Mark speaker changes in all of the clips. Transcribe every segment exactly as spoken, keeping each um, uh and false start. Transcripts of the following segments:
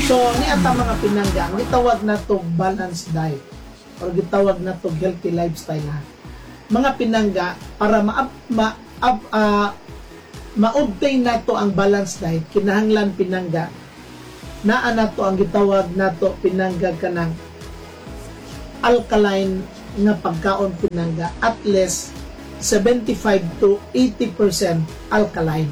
Speaker 1: So, ni ata, mga pinangga, ang gitawag nato balanced diet or gitawag nato healthy lifestyle, ha. Mga pinangga, para ma, ma, uh, ma-obtain nato ang balanced diet, kinahanglan, pinangga, naa nato ang gitawag nato, pinangga, kanang alkaline nga pagkaon, pinangga, at least seventy-five to eighty percent alkaline.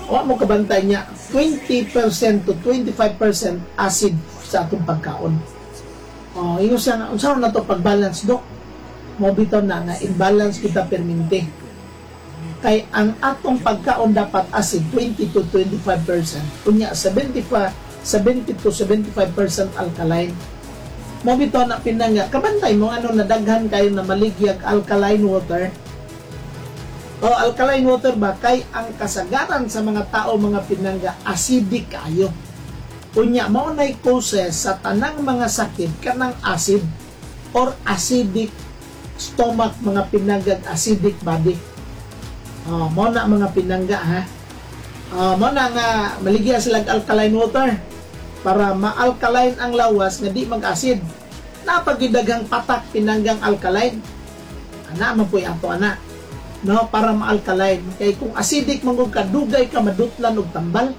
Speaker 1: Wa mo kabantay niya, twenty percent to twenty-five percent acid sa atong pagkaon. Oh, ingon siya nga, unsa na to pag-balance, dok? Mo bitaw na nga imbalance kita permente. Kay ang atong pagkaon dapat acid twenty to twenty-five percent. Unya seventy-five seventy to seventy-five percent alkaline. Mo bitaw na, pinangga, kabantay mo ano nadaghan kayo na maligyag alkaline water. O alkaline water ba, kay ang kasagaran sa mga tao, mga pinangga, acidic kayo. Unya mao nay causes sa tanang mga sakit kanang acid or acidic stomach, mga pinangga, acidic body. Oh, mao na, mga pinangga, ha. Oh, mao na nga maligya sila alkaline water para ma-alkaline ang lawas nga di mag-acid. Napagidaghang patak, pinanggang alkaline. Ana man po'y ato ana. No, para ma-alkaline. Kay kung acidic man ka, dugay ka madutlan og tambal.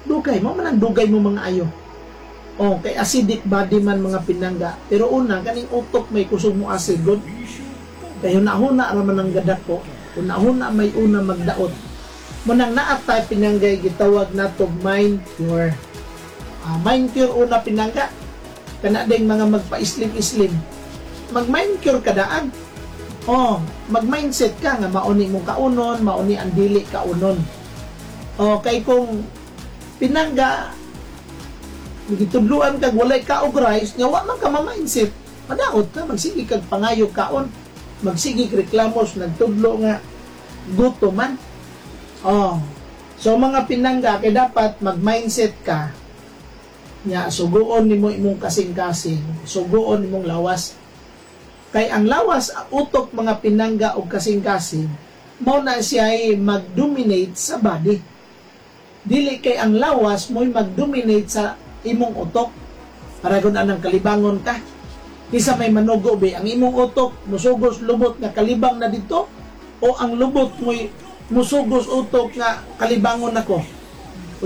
Speaker 1: Dugay mo man ang dugay mo mga ayo. Oh, kay acidic body man, mga pinangga. Pero una, kaning utok may kusog mo acid god. Kay hunahuna ra man ang gadako. Hunahuna may una magdaot. Munang naatay, pinanggay, gitawag nato mind cure. Uh, mind cure una, pinangga. Kana ding mga magpa-islim-islim. Mag-mind cure ka daan. Oh, mag-mindset ka nga mauni mong kaunon, mauni ang dili kaunon. Oh, kay kung, pinangga, gitudluan kag walay kaog rice, nga wa man ka ma-mindset, madaot ka, magsige kag pangayo kaon, magsige reklamos, nagtudlo nga gutom man. Oh. So mga pinangga, kay dapat mag-mindset ka nya suguon nimo imong kasing-kasing, suguon nimong lawas. Kay ang lawas, utok, mga pinangga, og kasing-kasing, mao na siya ay mag-dominate sa body. Dili kay ang lawas mo'y mag-dominate sa imong utok. Para kung anang kalibangon ka. Kisa may manugo be, ang imong utok musugos lubot nga kalibang na dito o ang lubot mo'y musugos utok nga kalibangon nako.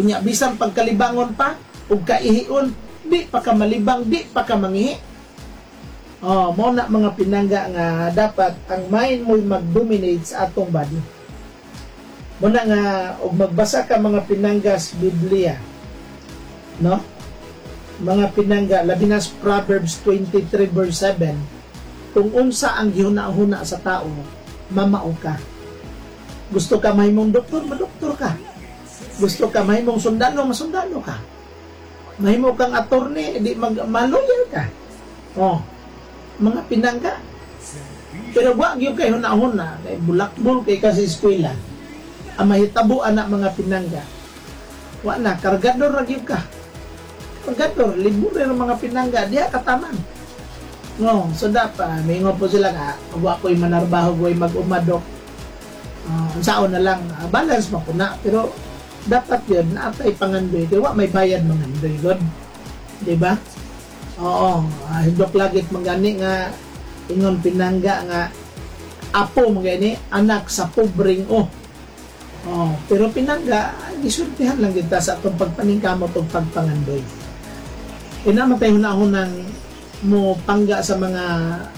Speaker 1: Unya bisan pagkalibangon pa ug kaihion, di pa ka malibang, di pa ka mangihi. Oh, mo na, mga pinangga, nga dapat ang mind mo'y mag-dominate sa atong body. Mo na nga og magbasa ka, mga pinangga, sa Biblia. No? Mga pinangga, labi na sa Proverbs twenty-three verse seven, kung unsa ang gihuna-huna sa tao, mamao ka. Gusto ka mahimong doktor, madoktor ka. Gusto ka mahimong sundalo, masundalo ka. Mahimo kang attorney, di mag ma-lawyer ka. Oh, mga pinangga. Pero wa gyud kay hunahuna, kay bulakbol kay ka sa eskwela. Ang mahitabo ana, mga pinangga, wa na kargador ra gyud ka. Kargador, libre ra, mga pinangga, diha kataman. No, so dapat mingon po sila nga wa ko'y manarbaho, ko'y mag-umadok. Uh, unsaon na lang, uh, balance mo ko na, pero dapat yun naatay pangandoy kay wa may bayad mangandoy god, di ba? Oo, uh, hindok lagit mangani nga ingon, pinangga, nga apo mangani anak sa pobreng oh. Oh, pero pinangga, gisultihan lang kita sa atong pagpaningkamot ug pagpangandoy. Ina man tay hunahunang mo pangga sa mga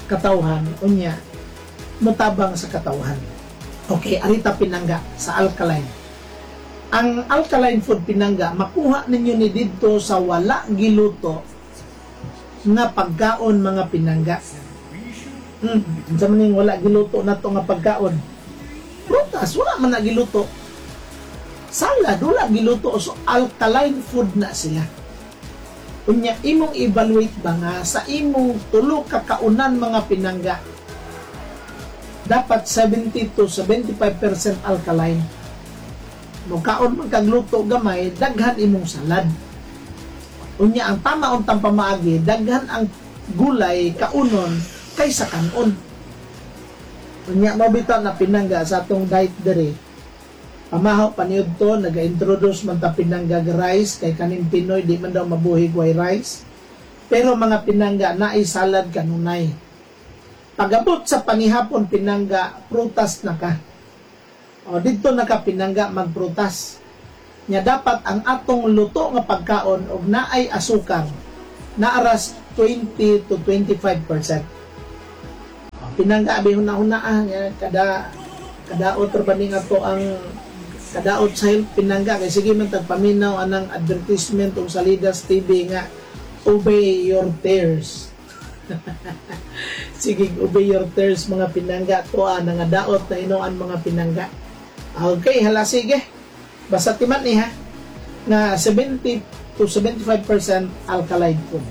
Speaker 1: katawhan, unya motabang sa katawhan. Okay, arita, pinangga, sa alkaline. Ang alkaline food, pinangga, makuha ninyo ni didto sa wala giluto nga pagkaon, mga pinangga. Hmm, unsa man ning wala giluto nato nga pagkaon? Prutas, wala man na giluto. Salad, wala giluto. So, alkaline food na sila. Unya, imong evaluate ba nga sa imong tulo ka kaunan, mga pinangga, dapat seventy to seventy-five percent alkaline. Mukaon man kag luto gamay, daghan imong salad. Unya ang tama untang pamaagi, daghan ang gulay kaunon kaysa kanon. Unya mo bitaw na, pinangga, sa atong diet dere. Pamahaw paniud to, naga-introduce man ta, pinangga, rice kay kaning Pinoy di man daw mabuhi way rice. Pero mga pinangga, naay salad kanunay. Pagabot sa panihapon, pinangga, prutas na ka. O didto na ka, pinangga, magprutas. Nya dapat ang atong luto nga pagkaon og naay asukar naaras twenty to twenty-five percent. O, pinangga, abi huna-huna ah, nga kada kadaot ra ba ni nga to ang kadaot sa health, pinangga, kay sige man tagpaminaw anang advertisement og Salidas T V nga "Obey your tears." Sige, "Obey your tears," mga pinangga, tuwa na nga daot na hinuan, mga pinangga. Okay, hala sige. Basta timan ni ha nga seventy to seventy-five percent alkaline food.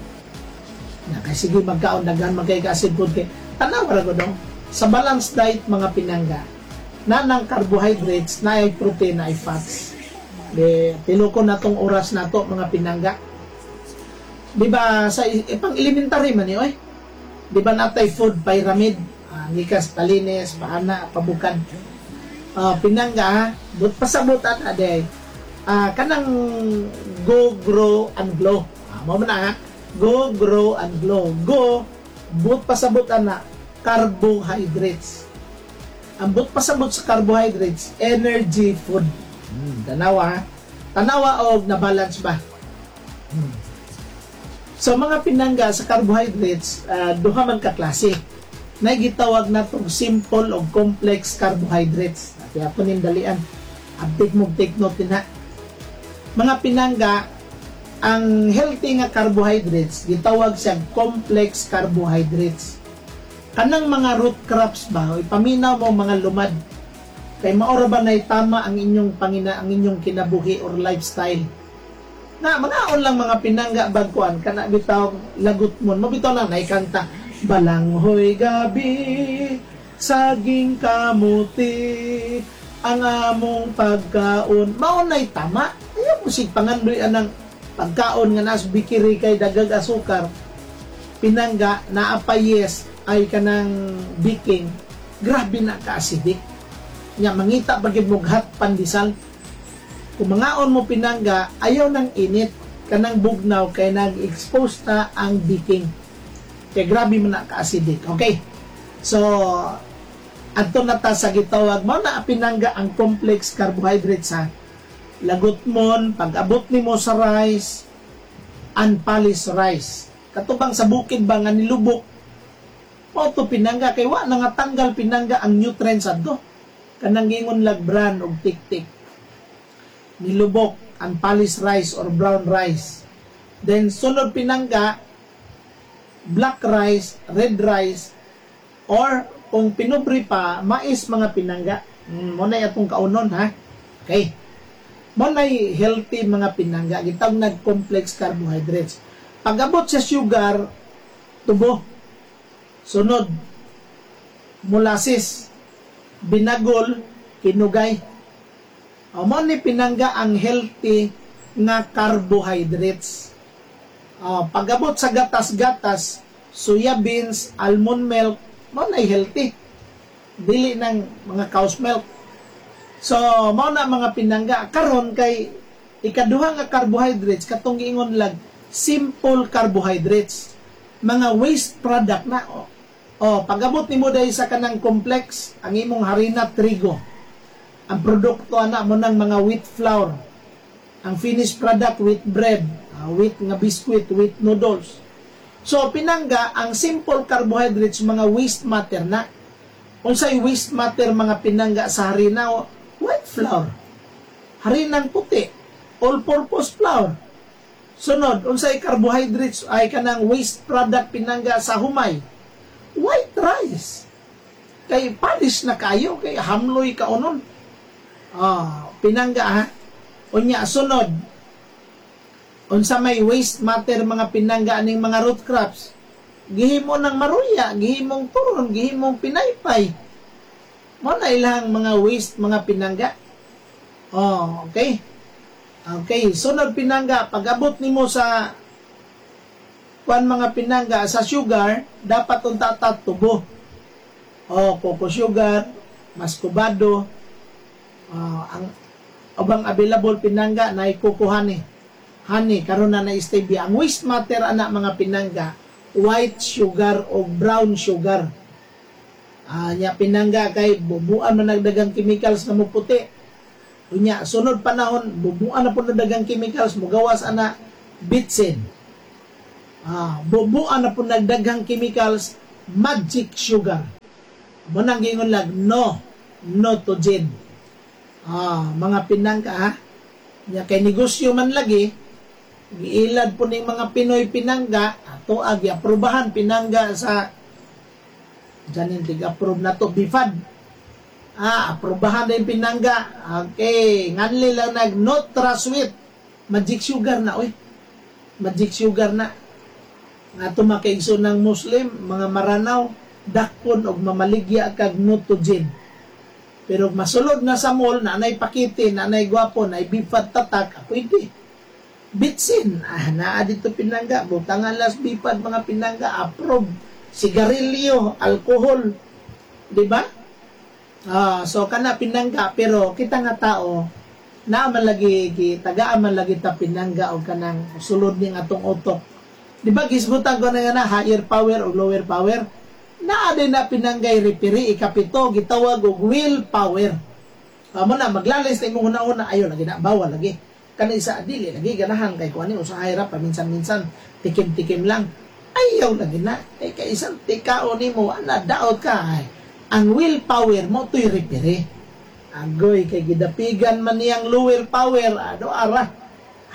Speaker 1: Na kay sige magkaon daghan man kay acid food kay tanaw ra gud sa balanced diet, mga pinangga, na ng carbohydrates, na ay protein, na ay fats. De, tiloko na tong oras na to, mga pinangga. Di ba sa ipang elementary man ni oy? Di ba natay food pyramid? Uh, gikas palinis, paana, pabukad. Uh, pinangga ha, but pasabot at ade. Uh, kanang go, grow, and glow. Uh, mo man na ha? Go, grow, and glow. Go, but pasabot ana, carbohydrates. Ang but pasabot sa carbohydrates, energy food. Hmm, tanawa ha? Tanawa og na balance ba? Hmm. So mga pinangga, sa carbohydrates, uh, duha man ka klase. Nay gitawag natong simple o complex carbohydrates. Kaya po ning dalian. Abtik mo take note din ha. Mga pinangga, ang healthy nga carbohydrates gitawag siya complex carbohydrates. Kanang mga root crops ba, ipaminaw mo mga lumad. Kay maora ba na tama ang inyong pangina ang inyong kinabuhi or lifestyle. Na mangaon lang, mga pinangga, bagkuan kana bitaw lagot mo, mabitaw lang naikanta balanghoy gabi, saging, kamuti ang among pagkaon. Mao nay tama. Ayaw mo sig pangandoy anang pagkaon nga nas bikiri kay dagag asukar, pinangga, naa pa yes ay kanang baking, grabe na ka acidic nya, mangita pa gid mo hot pandesal. Kung mangaon mo, pinangga, ayaw nang init kanang bugnaw kay nag-expose na ang baking kay grabe man na ka-acidic. Okay, so adto na ta sa gitawag mo na, pinangga, ang complex carbohydrates ha. Lagot mon pag abot nimo sa rice, unpolished rice, katubang sa bukid ba nga nilubok mo to, pinangga, kay wa na nga tanggal, pinangga, ang nutrients adto kanang gingon lag bran og tiktik, nilubok, unpolished rice or brown rice. Then sunod, pinangga, black rice, red rice, or kung pinubre pa, mais, mga pinangga. mm, mo na atong kaunon ha. Okay, mo na healthy, mga pinangga, gitawag nag complex carbohydrates. Pag-abot sa sugar, tubo. Sunod, molasses, binagol, kinugay. O, mo ni, pinangga, ang healthy nga carbohydrates. O, pag-abot sa gatas-gatas, soya beans, almond milk, mo na healthy. Dili ng mga cow's milk. So, mao na, mga pinangga, karon kay ikaduha nga carbohydrates katong giingon lag simple carbohydrates. Mga waste product na. O, oh, pag-abot nimo dahil sa kanang complex, ang imong harina trigo. Ang produkto ana mo ng mga wheat flour. Ang finished product, wheat bread, uh, wheat nga biscuit, wheat noodles. So pinangga, ang simple carbohydrates mga waste matter na. Unsay waste matter, mga pinangga, sa harina? White flour. Harinang puti, all-purpose flour. Sunod, unsay carbohydrates ay kanang waste product, pinangga, sa humay? White rice. Kay polish na kayo, kay hamloy kaunon. Ah, pinangga ha. Unya sunod, unsa may waste matter, mga pinangga, aning mga root crops? Gihimo ng maruya, gihimong turon, gihimong pinaypay. Mo na ilang mga waste, mga pinangga. Oh, okay. Okay, sunod, pinangga, pag-abot nimo sa kuan, mga pinangga, sa sugar, dapat unta ta tubo. Oh, coco sugar, mascobado, uh, ang Ubang available, pinangga, na coco honey. Honey, karon na na stevia. Ang waste matter ana, mga pinangga, white sugar o brown sugar. Ah, nya pinangga, kay bubuan man nagdagang chemicals nga muputi. Unya sunod panahon, bubuan na pud nagdagang chemicals, mugawas ana, bitsin. Ah, bubuan na pud nagdaghang chemicals, magic sugar. Mo nang giingon lag no, no to gin. Ah, mga pinangga ha. Nya kay negosyo man lagi, giilad po ning mga Pinoy, pinangga, ato agi aprobahan, pinangga, sa Janin tig-approve na to, B F A D. Ah, aprobahan na yung pinangga. Okay, nganli lang nag NutraSweet. Magic sugar na, oy. Magic sugar na. Nga to makaigso ng Muslim, mga Maranao, dakpon og mamaligya kag Nutogen. Pero masulod na sa mall, nanay pakite, nanay gwapo, nay B F A D tatak, ah, pwede. Bitsin, ah, naa dito, pinangga, butangan las B F A D, mga pinangga, approve. Sigarilyo, alkohol, di ba? Ah, so kana pinangga, pero kita nga tao, naa man lagi gitagaan man lagi ta, pinangga, og kanang sulod ning atong utok. Di ba gisgutan ko na nga na higher power o lower power? Naa din na, pinanggay, referee ikapito, gitawag og will power. Amo na maglalis na imong una-una, ayo lagi na, bawal lagi. Kani isa, dili lagi ganahan kay kuani usahay ra paminsan-minsan, tikim-tikim lang. Ayaw lagi na. Eh kay isang tikao nimo ana, daot ka. Ay, ang will power mo to'y referee. Agoy kay gidapigan man niyang lower power, ado ara.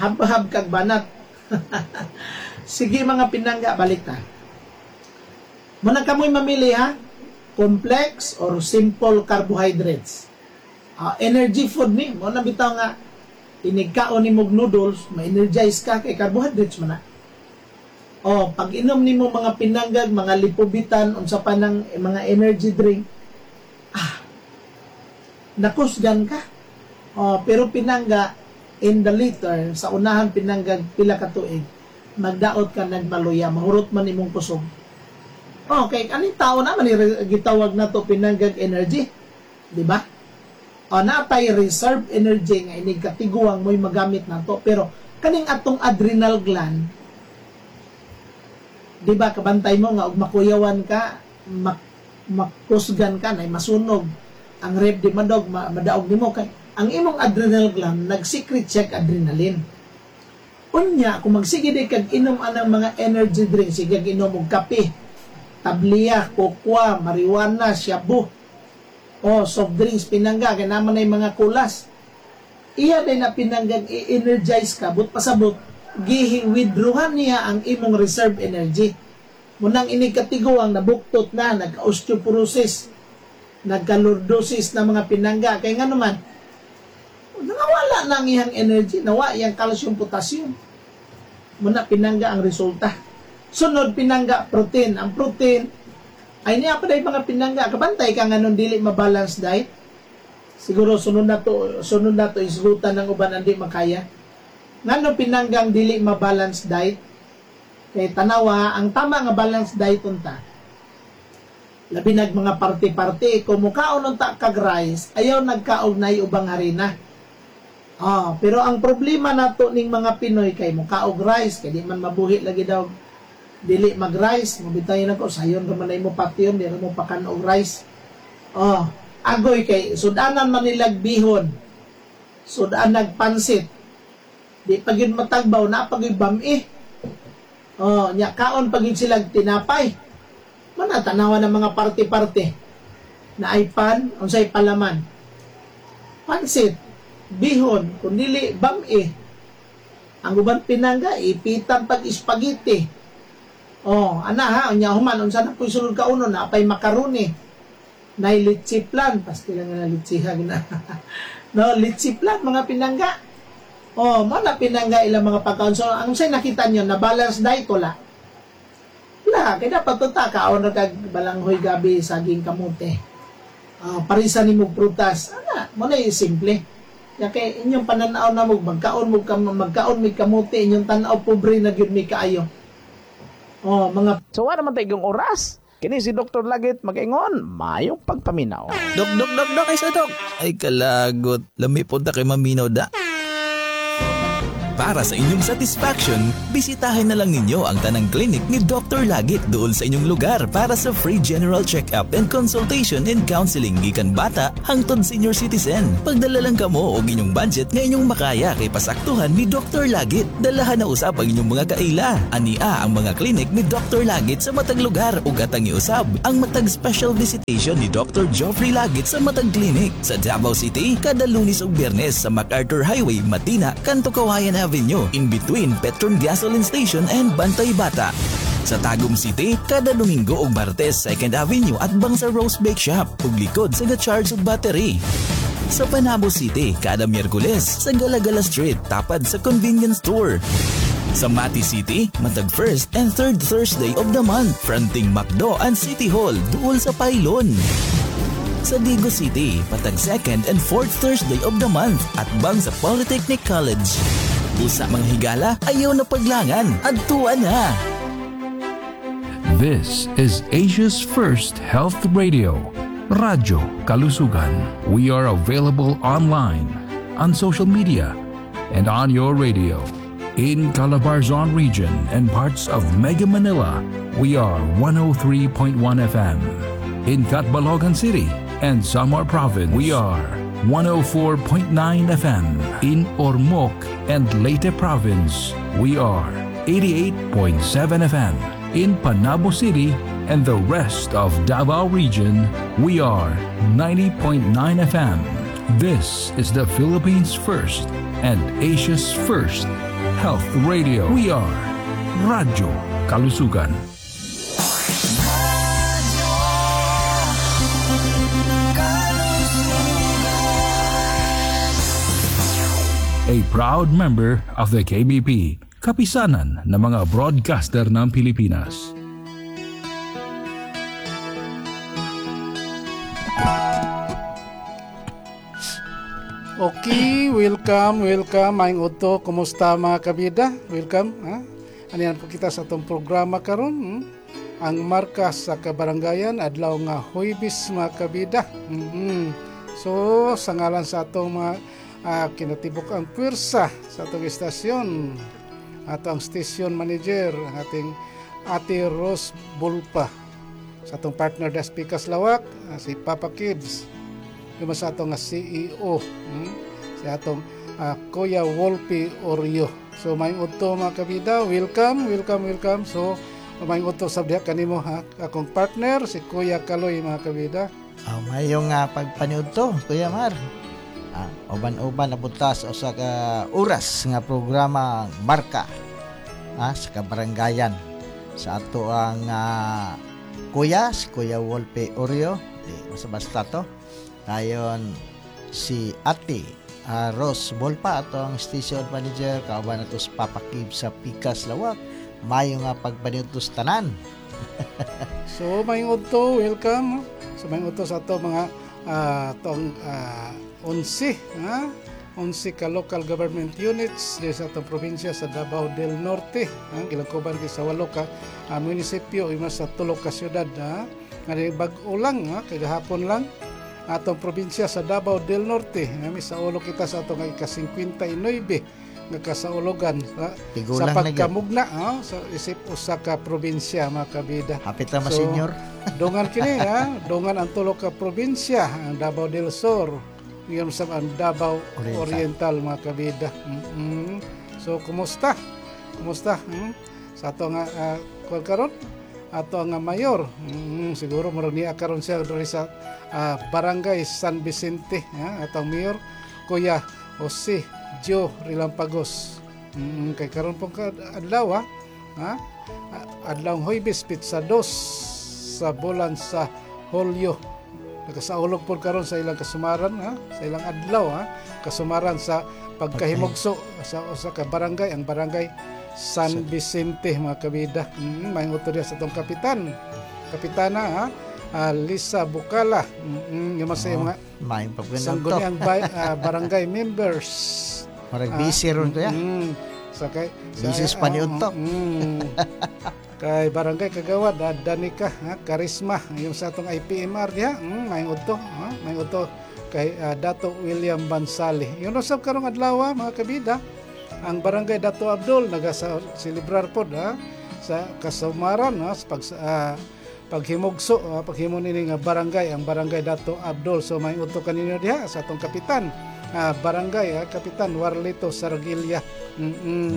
Speaker 1: Hab-hab kag banat. Sige, mga pinangga, balik ta. Muna kamoy mamili ha, complex or simple carbohydrates. Ah, energy food ni, mo na bitaw nga inig kaon nimo og noodles, ma-energize ka kay carbohydrates man na. Oh, pag inom nimo, mga pinanggag, mga lipobitan, unsa pa nang eh, mga energy drink, ah, nakusgan ka. Oh, pero pinangga, in the later, sa unahan, pinanggag, pila ka tuig, magdaot ka nagmaluya, mahurot man imong kusog. Okay, aning tao naman gitawag na to, pinanggag, energy. Di ba? O natay reserve energy nga inig katiguang mo'y magamit nato, pero kaning atong adrenal gland, di ba kabantay mo nga og makuyawan ka, mak makusgan ka na masunog ang rib, di madog ma, madaog nimo kay ang imong adrenal gland nag-secrete siya adrenaline. Unya kung magsige di kag inom anang mga energy drink, sige inom og kape, tabliya, kokwa, marijuana, shabu, o soft drinks, pinangga, kay naman ay mga kulas. Iya din na, pinanggang, i-energize ka, but pasabot, gihi-withdrawan niya ang imong reserve energy. Munang ini katiguang nabuktot na, nagka-osteoporosis, nagka-lordosis na, mga pinangga. Kaya nga naman, nawala na ang iyang energy, nawa iyang calcium, potassium. Muna pinangga ang resulta. Sunod, pinangga, protein. Ang protein, ay niya pa mga pinangga. Kabantay ka nga nun dili ma-balance diet. Siguro sunod na to, sunod na to isgutan ng uban andi makaya. Ngano pinanggang dili ma-balance diet? Kay tanawa, ang tama nga balance diet unta. Labi nag mga parte-parte, kung mukaon unta kag rice, ayaw nagkaog nay ubang harina. Ah, pero ang problema nato ning mga Pinoy kay mukaog rice, kay di man mabuhi lagi daw dili mag-rice, mabitayin ako, sayon ra man mo patyon, di ra mo pakan og rice. Oh, agoy kay sudanan man nilag bihon. Sudan nagpansit. Di pa gyud matagbaw na pag bami. Oh, nya kaon pa gyud sila tinapay. Mana tanawa ng mga parte-parte. Na ay pan, unsay palaman. Pansit, bihon, kung dili bami. Ang uban, pinangga, ipitan pag spaghetti. Oh, ana ha, unya human unsa na po'y sulod kauno, na pay macaroni. Nay leche flan, pasti lang nga leche na. No, leche flan, mga pinangga. Oh, mo na pinangga ilang mga pagkaon. So, ang say nakita niyo na balance diet, wala. Wala, kay dapat to ta kaon ra kag balanghoy, gabi, saging, kamote. Uh, parisa nimo prutas. Ana, mo na simple. Ya kay inyong pananaw na mo magkaon mo magkaon mig kamote, inyong tan-aw pobre na gyud mi kaayo. Oh, mga
Speaker 2: So, wala naman tayong oras.
Speaker 1: Kini si Doctor Lagit magaingon, maayong pagpaminaw.
Speaker 2: Dok, dok, dok, dok, ay sa dok. Ay kalagot. Lami po ta kay maminaw da. Para sa inyong satisfaction, bisitahin na lang ninyo ang tanang clinic ni Doctor Lagit doon sa inyong lugar para sa free general check-up and consultation and counseling gikan bata hangtod senior citizen. Pagdala lang kamo og inyong budget nga inyong makaya kay pasaktuhan ni Doctor Lagit. Dalahan na usab ang inyong mga kaila. Ania ang mga clinic ni Doctor Lagit sa matag lugar ug atang iusab ang matag special visitation ni Doctor Joffrey Lagit sa matag clinic sa Davao City kada Lunes ug Biyernes sa MacArthur Highway, Matina, Kanto Kawayan Avenue, in between Petron Gasoline Station and Bantay Bata. Sa Tagum City, kada Domingo ug Martes, Second Avenue at bang sa Rose Bake Shop ug likod sa ga-charge og battery. Sa Panabo City, kada Miyerkules sa Galagala Street, tapad sa convenience store. Sa Mati City, matag first and third Thursday of the month, fronting McDo and City Hall, duol sa Pylon. Sa Digos City, patag second and fourth Thursday of the month at bang sa Polytechnic College. Busa mga higala, ayaw na paglangan, adtuan na!
Speaker 3: This is Asia's first health radio, Radyo Kalusugan. We are available online, on social media, and on your radio. In Calabarzon region and parts of Mega Manila, we are one oh three point one F M. In Catbalogan City and Samar Province, we are one oh four point nine F M. In Ormoc and Leyte Province, we are eighty-eight point seven F M. In Panabo City and the rest of Davao Region, we are ninety point nine F M. This is the Philippines' first and Asia's first health radio. We are Radyo Kalusugan.
Speaker 2: Radyo Kalusugan.
Speaker 3: A proud member of the K B P, Kapisanan ng mga Broadcaster ng Pilipinas.
Speaker 4: Okay, welcome, welcome. Maayong udto, kumusta mga kabida? Welcome. Ha? Aniyan po kita sa atong programa karon. Hmm? Ang marka sa kabarangayan, adlaw nga Huwebes mga kabida. Mm-hmm. So, sa ngalan sa atong mga uh, kinatibuk ang puwersa sa atong istasyon, ato ang station manager, ang ating Ate Rose Bulpa. Sa atong partner Das Pikas Lawak, ah, si Papa Kids. Yung sa atong nga C E O, hmm? si atong uh, Kuya Wolpe Oreo. So maayong udto mga kabida, welcome, welcome, welcome. So maayong udto sa diha kanimo ha, akong partner si Kuya Kaloy mga kabida.
Speaker 5: Oh, mayong uh, pagpaniudto, Kuya Mar. Ah, uban-uban na punta sa usa ka oras nga programa Marka ah, sa kabarangayan sa ato ang uh, kuya, si Kuya Wolpe Oreo, di basta basta to. Dayon si Ate uh, Rose Bolpa, ato ang station manager, kauban nato si Papa Kib sa Pikas Lawak. Mayo nga pagpaniudto sa tanan.
Speaker 4: So maayong udto, welcome. So maayong udto sa ato mga uh, atong uh, onse, ha? onse ka local government units di sa atong probinsya sa Davao del Norte. Ha? Gilangkoban kay sa walo ka uh, munisipyo, ima sa tulo ka syudad. Ha? Nga bag-o lang, ha? Kay gahapon lang atong probinsya sa Davao del Norte. Kami sa ulo kita sa atong ika-singkwenta y nuwebe nga kasaulogan sa,
Speaker 5: Tigulang
Speaker 4: sa
Speaker 5: na gyud.
Speaker 4: Pagkamugna ha, sa isip usa ka probinsya mga kabida.
Speaker 5: Hapit na
Speaker 4: So,
Speaker 5: ma-senior.
Speaker 4: Dungan kini ha, dungan ang tulo ka probinsya, ang Davao del Sur, yung sa ang Davao
Speaker 5: Oriental.
Speaker 4: Oriental, mga kabida. Mm-mm. So kumusta? Kumusta? Hmm? Sa ato nga uh, kuwan karon? Ato nga mayor. Mm, siguro murag niya karon siya diri sa ah, Barangay San Vicente, ha? Atong mayor Kuya Jose Joe Rilampagos. Mm, kay karon pong ka- adlaw ha. Ha? Adlaw Huwebes pitsa dos sa bulan sa Hulyo. Nakasaulog po karon sa ilang kasumaran ha, sa ilang adlaw ha, kasumaran sa pagkahimugso sa usa ka barangay, ang Barangay San Vicente mga kabida. Mm, may diya sa atong kapitan. Kapitana ha, ah, Lisa Bukala. Mm, mm, yung sa mga
Speaker 5: Maayong pagpaniudto.
Speaker 4: sangguniang bay- ah, barangay members.
Speaker 5: Murag busy ron kuya.
Speaker 4: Mm, sa kay sa,
Speaker 5: Busy sa paniudto.
Speaker 4: Mm, Kay Barangay Kagawad, ah, Danica, ha, Karisma, yung sa atong I P M R diha, mm, maayong udto, ha, maayong udto kay ah, Dato William Bansali. Yun usab karong adlaw, mga kabida, ang Barangay Dato Abdul nagaselebrar pod, ha, sa kasumaran, ha, sa pag ah, paghimugso, ah, paghimo nini nga barangay, ang Barangay Dato Abdul. So maayong udto kaninyo diha sa atong kapitan, ah, barangay, ah, Kapitan Warlito Sargilla. Mm -mm.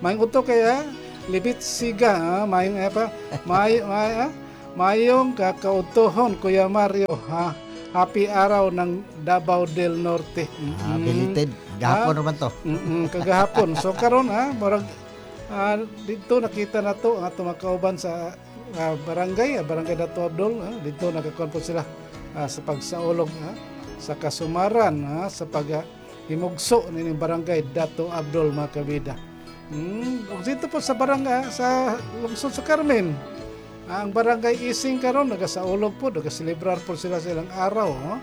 Speaker 4: Maayong udto kay ah, Libit Siga, ah, maayong eh, pa may may ah, maayong kakautohon, Kuya Mario, ha. Happy Araw ng Davao del Norte. Mm-mm.
Speaker 5: Ah, belated. Gahapon
Speaker 4: Ah.
Speaker 5: naman to.
Speaker 4: Mm-mm, kagahapon. So karon, ha, murag ah, dito nakita na to ang atong mga kauban sa ah, barangay, ah, Barangay Dato Abdul, ah, dito nagakuan po sila ah, sa pagsaulog, ah, sa kasumaran, ah, sa pag ah, himugso nining Barangay Dato Abdul, mga kabida. Mm, ug dito po sa barangay sa lungsod sa Carmen. Ah, ang Barangay Ising karon nagasaulog po, nagaselebrar po sila sa ilang araw, no?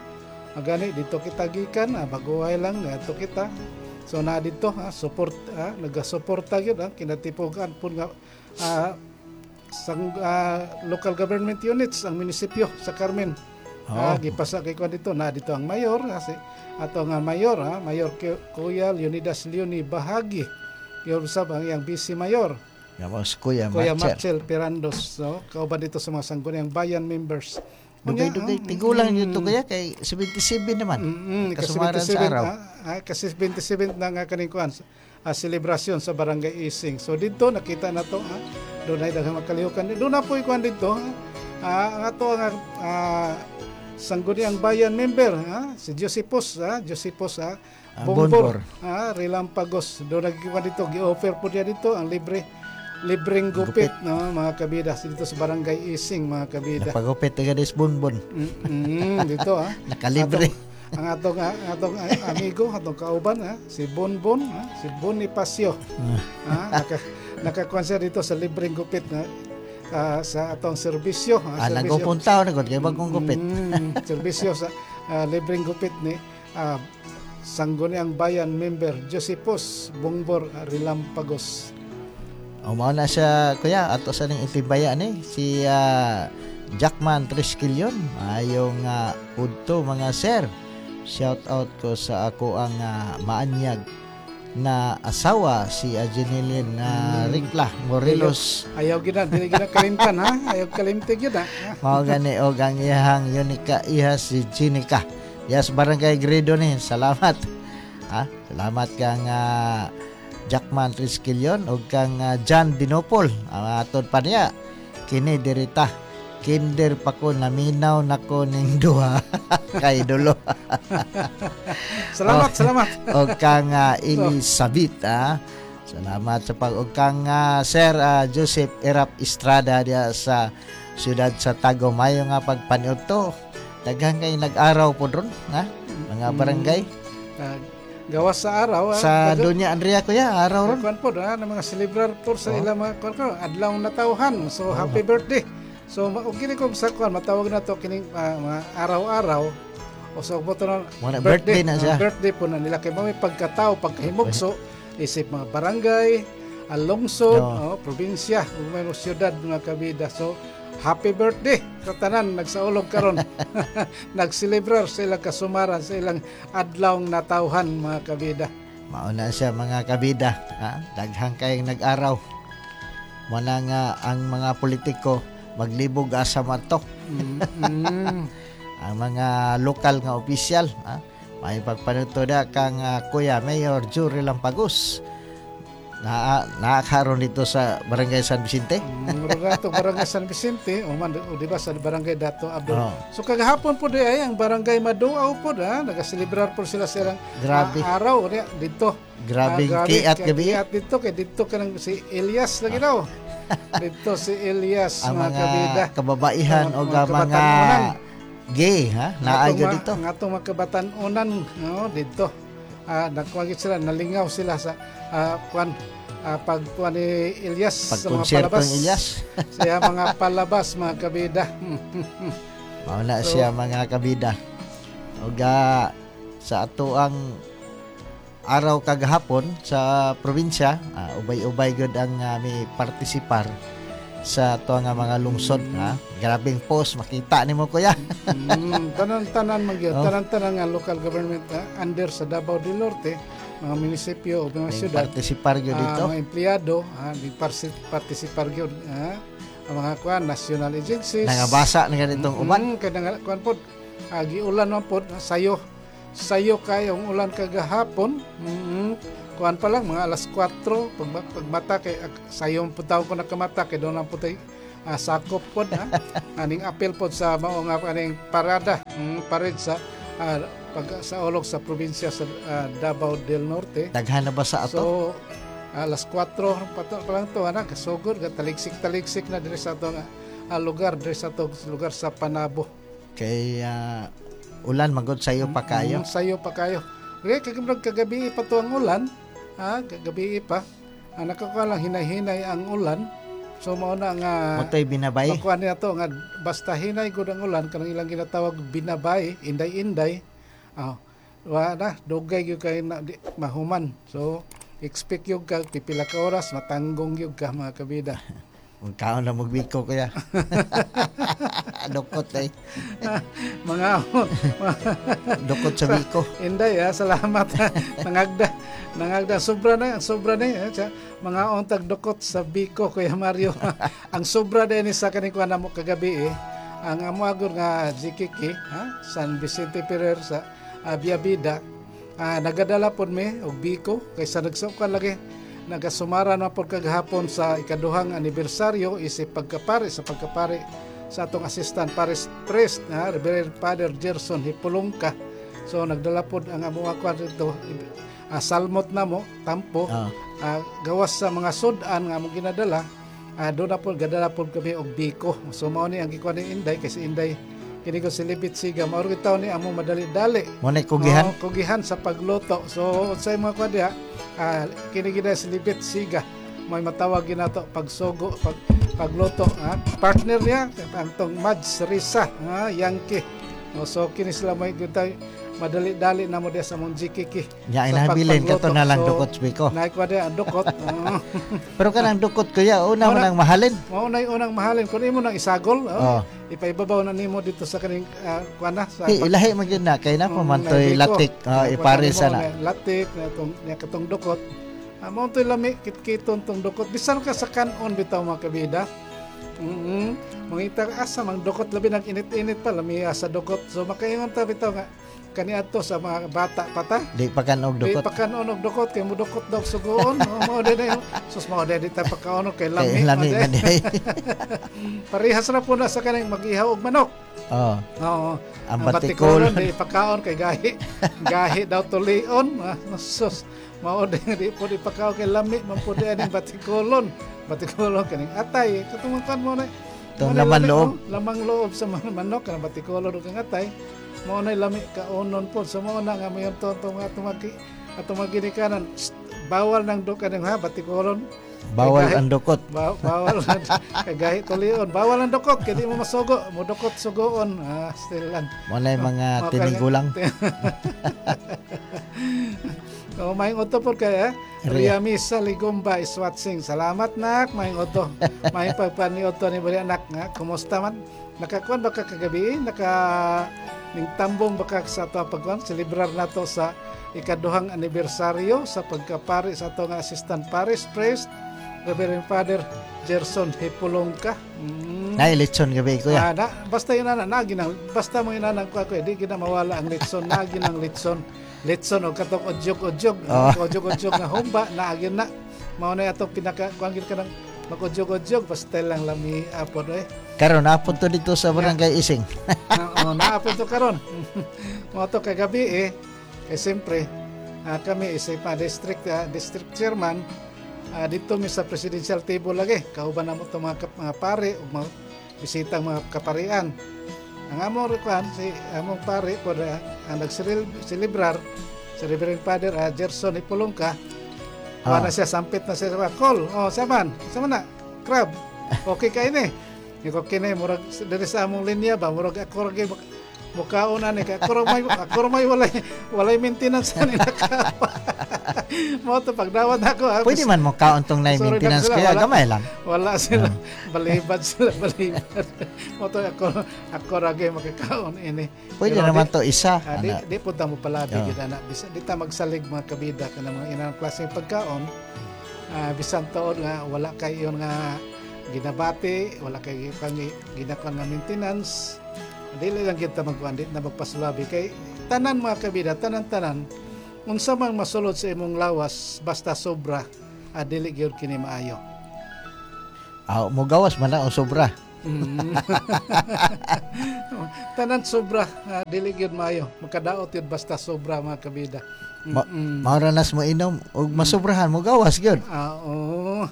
Speaker 4: Ah, gani dito kita gikan, ah, baguhay lang dito kita. So na dito, ha, support, ah, nagasuporta gyud, ah, kinatipugan po nga ah, sang ah, local government units ang munisipyo sa Carmen. Ah, gipasa kay kuan dito na dito ang mayor, ah, si ato nga mayor, ha, Mayor Ku- Kuya Leonidas Leonie Bahagi. Yun sab ang iyang vice mayor.
Speaker 5: Gamos Kuya
Speaker 4: Kuya
Speaker 5: Marcel.
Speaker 4: Marcel Pirandos, no? Kauban dito sa mga Sangguniang Bayan members. Unya,
Speaker 5: Dugay-dugay
Speaker 4: ah,
Speaker 5: tigulang dito kuya kay seventy-seven naman.
Speaker 4: Mm, kasi
Speaker 5: Kasumaran sa
Speaker 4: twenty-seven,
Speaker 5: araw.
Speaker 4: ah, ah, kasi twenty-seven na nga kaning kuan ah, selebrasyon sa Barangay Ising. So dito nakita na to, ah, doon ay daghang makalihukan. Doon na po ikuan dito. Ah, ang ato ang ah, Sangguniang Bayan member, ah, si Josepos, ah, Josepos, ah,
Speaker 5: Ah,
Speaker 4: Bongbor,
Speaker 5: Bongbor.
Speaker 4: ah, Relampagos. Doon nagkuan dito, gi-offer po niya dito ang libre libreng gupit, no, mga kabida, dito sa Barangay Ising, mga kabida.
Speaker 5: Napagupit ka des bonbon.
Speaker 4: Mm, dito ah.
Speaker 5: Nakalibre.
Speaker 4: Atong, ang atong ang atong amigo, atong kauban, ah, si Bonbon, ah, si Bonifacio. ah, naka nakakuan siya dito sa libreng gupit na ah, sa atong serbisyo, ah,
Speaker 5: Ah,
Speaker 4: serbisyo.
Speaker 5: nagpupunta na gud kay bagong gupit.
Speaker 4: Mm, serbisyo sa ah, libreng gupit ni ah, Sangguniang Bayan member Josepos Bongbor Relampagos.
Speaker 5: O mao na siya, kuya, ato sa ning itimbaya ni si ah, Jackman Trisquilion. Ayong uh, udto, mga sir. Shout out ko sa ako ang ah, maanyag na asawa, si Ajeneline na Ricla Morelos.
Speaker 4: Ayaw gina, dili gina kalimtan, ha. Ayaw kalimti gyud, ha.
Speaker 5: Mao gani og ang iyahang unika iha, si Jinica. Yes, Barangay Gredo ni. Salamat. Ha? Salamat kang ah, Jackman Trisquilion ug kang ah, John Dinopol. Ang atod pa niya kini dirita. Kinder pa ko, naminaw nako ning duha kay dulo.
Speaker 4: Salamat, salamat.
Speaker 5: Og kang ah, Elizabeth, ah. Salamat sa pag og kang ah, Sir ah, Joseph Erap Estrada diya sa siyudad sa Tagum. Mayo nga pagpaniud to. Daghan kay nag-araw po ron, ha? Mga barangay.
Speaker 4: Ah, gawas sa araw, ah,
Speaker 5: Sa
Speaker 4: daga-
Speaker 5: Doña Andrea, kuya, araw ron.
Speaker 4: Kuan po na ng mga celebrar po sa ilang mga kuan ko adlaw natawhan. So happy birthday. So ma- og kini kung sa kuan matawag na to kining ah, mga araw-araw o so mo to na
Speaker 5: Mga birthday na siya.
Speaker 4: ah, birthday po na nila kay may pagkatao, pagkahimugso isip mga barangay, ang lungsod,
Speaker 5: Oo.
Speaker 4: oh, probinsya ug may mga syudad, mga kabida. So happy birthday sa tanan nagsaulog karon, nagselebrar sa ilang kasumaran, sa ilang adlaw natawhan, mga kabida.
Speaker 5: Mao na siya, mga kabida, ha? Daghang kayong nag-araw. Muna nga ang mga politiko maglibog asa man to.
Speaker 4: Mm, mm.
Speaker 5: Ang mga lokal nga opisyal, ha? May pagpanuto da kang ah, Kuya Mayor Jury Lampagos. Na nakakaroon dito sa Barangay San Vicente.
Speaker 4: Mm, Murag ato Barangay San Vicente o man o di ba sa Barangay Dato Abdul.
Speaker 5: Oo.
Speaker 4: So kagahapon po di ay ang Barangay Maduaw po ha, nagaselebrar po sila silang
Speaker 5: Grabe.
Speaker 4: ah, araw niya dito.
Speaker 5: Grabing
Speaker 4: Ah,
Speaker 5: kiat gabi.
Speaker 4: Kiat dito kay dito kanang si Elias lagi daw. Dito si Elias,
Speaker 5: Ang
Speaker 4: mga
Speaker 5: mga
Speaker 4: kabida.
Speaker 5: kababaihan
Speaker 4: Mga-
Speaker 5: o
Speaker 4: mga
Speaker 5: mga
Speaker 4: kabatan-unan.
Speaker 5: gay, ha? Naay
Speaker 4: Atong ma-
Speaker 5: dito.
Speaker 4: Ang atong mga kabatan-unan, no, dito. Ah, nagkuwagit sila, nalingaw sila sa ah, kuan ah, pagkuan ni Elias sa mga
Speaker 5: Pagkonsyerto
Speaker 4: palabas.
Speaker 5: ng Elias.
Speaker 4: Siya mga palabas, mga kabida.
Speaker 5: Mao na
Speaker 4: So-
Speaker 5: siya, mga kabida. Ug ah, sa ato ang araw kagahapon sa probinsya, ah, ubay-ubay gud ang uh, mi partisipar. Sa ato nga mga lungsod, ha. Grabing post makita nimo, kuya.
Speaker 4: mm, tanan-tanan man gyud,
Speaker 5: Oh.
Speaker 4: tanan-tanan nga local government ah, under sa Davao del Norte, mga munisipyo o mga syudad,
Speaker 5: Partisipar gyud
Speaker 4: ah,
Speaker 5: dito.
Speaker 4: Mga empleyado, ah, di parsi- partisipar gyud, ah, ang mga kuan, national agencies.
Speaker 5: Nangabasa na ganitong uban.
Speaker 4: Mm, kay nga kuan pod, ah, giulan man pod, sayo sayo kay ang ulan kagahapon. Mm, kuan pa lang mga alas kwatro pag, pagmata kay ak- sayo pud tawo ko nakamata kay doon ang putay ah, sakop pod, ha. Aning apil pod sa mao nga aning parada, mm, parade sa ah, pag sa ulog sa probinsya sa ah, Davao del Norte.
Speaker 5: Daghan na ba sa ato?
Speaker 4: So alas kwatro pa, to, pa lang to ana kasugod ga taligsik-taligsik na diri sa ato nga ah, lugar diri sa ato lugar sa Panabo.
Speaker 5: Kay ah, ulan magod sayo pa kayo.
Speaker 4: Mm, sayo pa kayo. Okay, kag kagabi pa to ang ulan. Ha, kagabi pa. Ah, nakakuha lang hinay-hinay ang ulan. So mao na nga
Speaker 5: Motoy binabay.
Speaker 4: Makuha niya to nga basta hinay gud ang ulan kanang ilang ginatawag binabay, inday-inday. Ah, wa na dugay gyud kay na, di, mahuman. So expect gyud ka pipila ka oras matanggong gyud ka, mga kabida.
Speaker 5: Magkaon na magbiko, kuya. Dukot eh.
Speaker 4: Mga
Speaker 5: Dukot sa biko.
Speaker 4: Inday ha, salamat. Nangagda, nangagda sobra na, ang sobra na eh. Siya, mga ontag dukot sa biko, Kuya Mario. Ang sobra din sa kaning kuan namo kagabi eh. Ang amo agor nga G K K, ha, San Vicente Ferrer sa uh, Biabida. Ah, nagadala pod mi og biko kaysa nagsuka lagi nagasumara na pod kagahapon sa ikaduhang anibersaryo isip pagkapare sa pagkapare sa atong assistant parish priest na Reverend Father Gerson Hipulongka. So nagdala pod ang amo kuan dito, uh, salmot na mo tampo.
Speaker 5: Ah.
Speaker 4: Ah, gawas sa mga sudan nga among ginadala, uh, doon na po gadala pod kami og biko. So mao ni ang gikuan ni Inday kay si Inday kini ko si Libit Siga mao rin ni among madali-dali.
Speaker 5: Mo na kugihan.
Speaker 4: Oo, kugihan sa pagluto. So sa mga kuan diha, ah, kini gid si Libit Siga may matawag ginato pagsugo pag pagluto, ha? Partner niya ang tong Mads Risa, ha, Yankee. O, so kini sila may gitay madali-dali na mo diha sa mong G K K
Speaker 5: Nya
Speaker 4: sa
Speaker 5: inabilin kato
Speaker 4: pagpagluto.
Speaker 5: na lang
Speaker 4: So,
Speaker 5: dukot sa biko.
Speaker 4: Naikuha diha ang dukot. Oo.
Speaker 5: Pero kanang dukot, kuya, una mo
Speaker 4: Una-
Speaker 5: nang mahalin.
Speaker 4: Mao na yung unang mahalin kung imo nang isagol,
Speaker 5: Oh.
Speaker 4: oh, ipaibabaw na nimo dito sa kaning uh, kuan na sa
Speaker 5: Di, ilahi man gyud na kay na pa man
Speaker 4: Mm,
Speaker 5: to'y
Speaker 4: biko.
Speaker 5: latik, oh,
Speaker 4: Nakuha
Speaker 5: ipares
Speaker 4: nimo
Speaker 5: na.
Speaker 4: na latik na itong niya katong dukot. Ah, mao to'y lami kitkiton tong dukot. Bisan ka sa kanon bitaw, mga kabida. Mm Mangita ka asa mang dukot, labi nag init-init pa lami sa dukot. So makaingon ta bitaw nga kaniadto sa mga bata pata.
Speaker 5: Di pa kan og
Speaker 4: Di
Speaker 5: dukot.
Speaker 4: pa kanon og dukot kay mudukot daw sugoon. Oh, mao din na sus mao din di ta pakaon kay lami.
Speaker 5: Kay lami
Speaker 4: mao
Speaker 5: man
Speaker 4: din.
Speaker 5: di.
Speaker 4: Parehas ra po na sa kaning mag-ihaw og manok.
Speaker 5: Oh,
Speaker 4: Oo.
Speaker 5: ang batikol.
Speaker 4: Di pakaon kay gahi. Gahi daw tulion. Ah, sus. Mao din di po di pakaon kay lami man po di aning batikolon. Batikolon kaning atay. Katong kan mo na.
Speaker 5: Itong
Speaker 4: Mao na
Speaker 5: laman
Speaker 4: lami,
Speaker 5: loob.
Speaker 4: oh, lamang loob sa mga manok kanang batikolon ug ang atay. Mao na lami kaonon po. So mao na nga mayon to to nga tumagi atong mga ginikanan. Shh, bawal nang do kaning ha batikolon.
Speaker 5: Bawal
Speaker 4: Kay gahi-
Speaker 5: ang dukot.
Speaker 4: Ba- bawal kay gahi tulion. Bawal ang dukot kay di mo masugo, mo dukot sugoon. Ah, still lang.
Speaker 5: Mo na yung mga
Speaker 4: Mga
Speaker 5: tinigulang.
Speaker 4: Oh, maayong udto po kay eh.
Speaker 5: Ria.
Speaker 4: Ria Misa Ligumba is watching. Salamat, nak, maayong udto. Maayong pagpaniudto ni bali anak nga. Kumusta man? Nakakuan ba ka kagabi? Naka ning tambong ba ka sa ato pagkuan? Celebrar nato sa ikaduhang anibersaryo sa pagkapari sa ato nga assistant parish priest Reverend Father Gerson Hipulongka. Mm.
Speaker 5: Nay litson gabi, kuya.
Speaker 4: Ah, na, basta yun na, nagi nang, basta mo yun na, ko ako, di gina mawala ang litson, nagi ng litson. Litson o katong odyog-odyog,
Speaker 5: Oh.
Speaker 4: odyog-odyog nga humba, naagi na. Mao na atong pinaka, kuan gid ka ng mag-odyog-odyog, basta lang lami apod eh.
Speaker 5: Karon apod to dito sa Barangay Ising.
Speaker 4: Oo, naapod to karon. Mao to kagabi eh, kay siyempre, ah, kami isa pa district ah, district chairman, ah, dito mi sa presidential table lagi. Kauban namo to mga, kap- mga pare ug mga bisitang mga kaparian. Ang among kuan si among pare po na ang nagselebrar si Reverend Father uh, Gerson Ipulongka.
Speaker 5: Ah.
Speaker 4: Ah. Na siya, sampit na siya sa call. Oh, saman, sama na. Crab. Okay kay ni. Iko kini murag diri sa among linya ba murag ako ra gyud Mukaon ani kay ako ra may ako ra may walay walay maintenance ani nakaon. Mao to pagdawat ako ah,
Speaker 5: Pwede man mo kaon tong na
Speaker 4: Sorry lang
Speaker 5: maintenance
Speaker 4: sila,
Speaker 5: kaya
Speaker 4: wala.
Speaker 5: gamay lang.
Speaker 4: Wala sila, balibad sila, balibad. Mao to ako ako ra gyud makakaon ini.
Speaker 5: Pwede
Speaker 4: Pero
Speaker 5: naman
Speaker 4: di-
Speaker 5: to isa.
Speaker 4: Ah, di,
Speaker 5: Ana.
Speaker 4: di po ta mo palabi
Speaker 5: Oo.
Speaker 4: gyud ana. Bisa di ta magsalig, mga kabida, kanang mga inang klaseng pagkaon. Ah, bisan taon nga wala kay iyon nga ginabati, wala kay pang ginakuan nga maintenance. Dili lang kita magkuan, di na magpasulabi kay tanan, mga kabida, tanan-tanan unsa man masulod sa imong lawas basta sobra, ah, dili gyud kini maayo.
Speaker 5: Ah, mo gawas man na ang sobra.
Speaker 4: Mm. Tanan sobra, ah, dili gyud maayo. Makadaot yun basta sobra, mga kabida.
Speaker 5: Ma-
Speaker 4: Mm-mm.
Speaker 5: Mao ra nas mo inom ug masobrahan, mo gawas gyud.
Speaker 4: Ah, oo.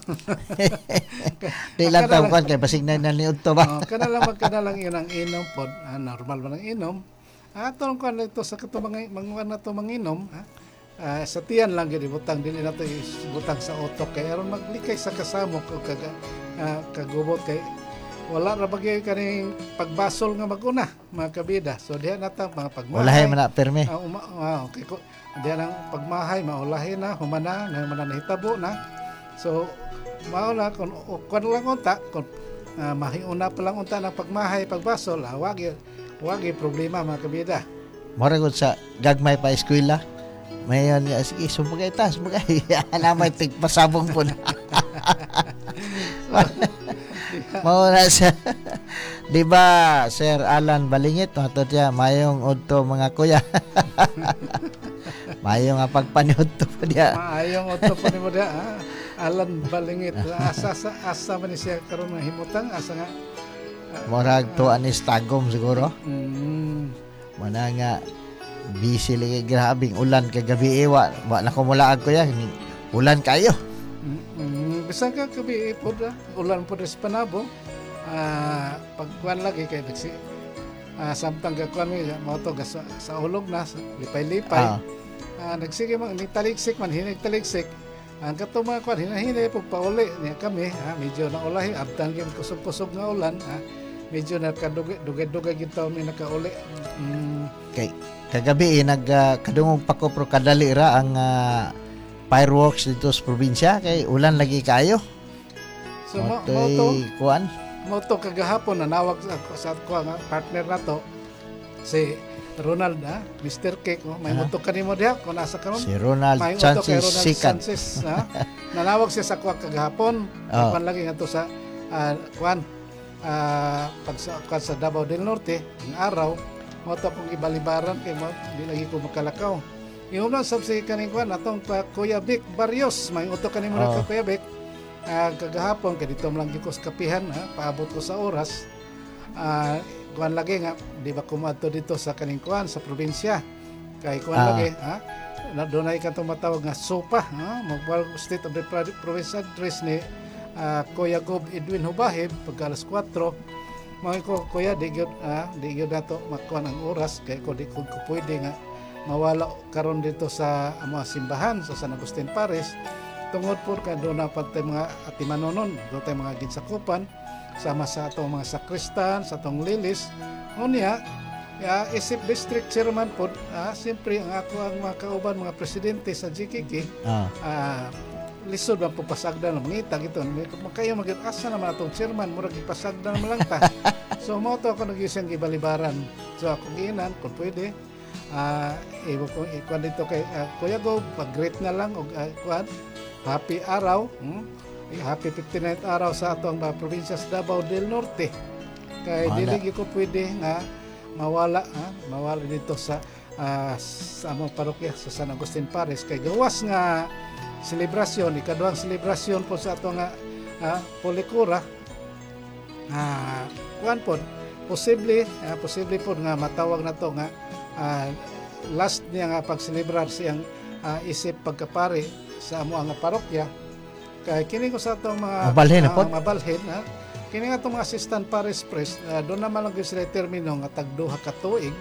Speaker 5: Di lang
Speaker 4: Kana
Speaker 5: taw
Speaker 4: lang-
Speaker 5: kuan kay basig na na niudto ba.
Speaker 4: Oh, kana lang kana lang yun ang inom pod. Ah, normal man ang inom. Ah, atong kuan ito sa kato mga mga na to manginom, ah. Ah, sa tiyan lang gyud ibutang, dili na to ibutang sa utok kay aron maglikay sa kasamok o kag ah, kagubot kay wala ra bagay kaning pagbasol nga maguna, mga kabida. So diha na ta mga pagmahay.
Speaker 5: Ulahi man na perme.
Speaker 4: Ah, uma, ah, okay ko. Diha nang pagmahay maulahi na, humana na humana nahitabo na. So mao na kun o, kun lang unta kun uh, mahiuna pa lang unta ng pagmahay, pagbasol, ah, wagi wagi problema, mga kabida.
Speaker 5: Mura gud sa gagmay pa eskwela. Mayon nga sige sumugay ta, sumugay. Ana may tigpasabong po na. Mao na sa Di ba, Sir Alan Balingit, matod siya, mayong udto mga kuya. Mayong nga pagpaniudto po diya.
Speaker 4: Maayong udto po nimo diha, ah. Alan Balingit, asa sa asa man ni siya karon nga himutang, asa nga?
Speaker 5: Murag tuan is Tagum siguro.
Speaker 4: mm,
Speaker 5: Mana nga busy lagi, grabing ulan kagabi eh, wa, wa na ko mulaag kuya, ulan kayo.
Speaker 4: mm, mm, bisan ka gabi pod, ah, ulan pod sa Panabo. Ah, pagkuan lagi kay nagsi ah, samtang gakuan mi mao to sa, sa ulog na sa lipay-lipay.
Speaker 5: Ah.
Speaker 4: Ah, nagsige man nagtaligsik man hinig taligsik ang katong mga kuan hinahini pug pauli niya kami, ha, medyo naulahi abtang gyud kusog-kusog nga ulan, ha, medyo nakadugay dugay-dugay gyud taon mi nakauli mm,
Speaker 5: Kay kagabi eh, nag ah, kadungog pa ko pero kadali ra ang ah, fireworks dito sa probinsya kay ulan lagi kayo.
Speaker 4: So mo
Speaker 5: Mo
Speaker 4: mo to
Speaker 5: kuan.
Speaker 4: Mo to kagahapon nanawag sa sa ko nga partner na to si Ronald, ha, Mister Cake, oh, may
Speaker 5: Ah.
Speaker 4: muto kanimo diha kung nasa karon.
Speaker 5: Si Ronald
Speaker 4: May uto kay
Speaker 5: Sanchez
Speaker 4: Ronald
Speaker 5: Sikan.
Speaker 4: Sanchez, ha? Nanawag siya sa kuha kagahapon.
Speaker 5: Oh.
Speaker 4: Kuan lagi nga to sa ah, kuan ah, pag sa, kuan sa Davao del Norte ang araw mo to akong ibalibaran kay mo di lagi ko makalakaw. Yung lang sab si kaning kuan atong pa, Kuya Vic Barrios, may uto kanimo na
Speaker 5: Oh.
Speaker 4: ka, Kuya Vic. Ah, kagahapon kay dito man lang gyud ko sa kapihan, ha, paabot ko sa oras. Ah, kuan lagi nga di ba kumadto dito sa kaning kuan sa probinsya kay kuan
Speaker 5: Ah.
Speaker 4: lagi, ha, na dunay ka tumatawag nga SOPA, ha, mag State of the Pro- Province Address ni ah, Kuya Gob Edwin Hubahib pagka alas kuwatro. Mga ko, kuya, di gyud ah, di gyud nato makuan ang oras kay ko di ko, ko pwede nga mawala karon dito sa amo simbahan sa San Agustin Parish tungod po kay doon na pa tay mga atimanonon, doon tay mga ginsakupan sama sa atong mga sakristan, sa atong lilis. Unya ya, isip district chairman po, ah, siyempre ang ako ang mga kauban mga presidente sa G K K,
Speaker 5: Ah.
Speaker 4: ah, lisod ang pagpasagdan ng mangita ito makayo mag asa naman atong chairman, murag ipasagdan naman lang ta. So mo to ako nag-isang gibalibaran. So ako giinan kung pwede, ah, ibo ko ikuan dito kay ah, Kuya Go, pag-greet na lang og ah, kuan, happy araw, hmm? Happy fifty-ninth araw sa atong mga probinsya sa Davao del Norte kay
Speaker 5: Wala.
Speaker 4: dili gyud ko pwede nga mawala, ha? Mawala dito sa ah, sa among parokya sa San Agustin Parish kay gawas nga selebrasyon, ikaduhang selebrasyon po sa ato nga uh, Polikura. Ah, kuan pod posible, ah, posible pod nga matawag na to nga ah, last niya nga pagselebrar siyang ah, isip pagkapari sa amo nga parokya kay kini ko sa atong mga
Speaker 5: Mabalhin na
Speaker 4: ah,
Speaker 5: pod?
Speaker 4: Mabalhin, ha. Kini nga atong mga assistant parish priest, ah, doon naman lang gyud sila termino nga tag duha ka tuig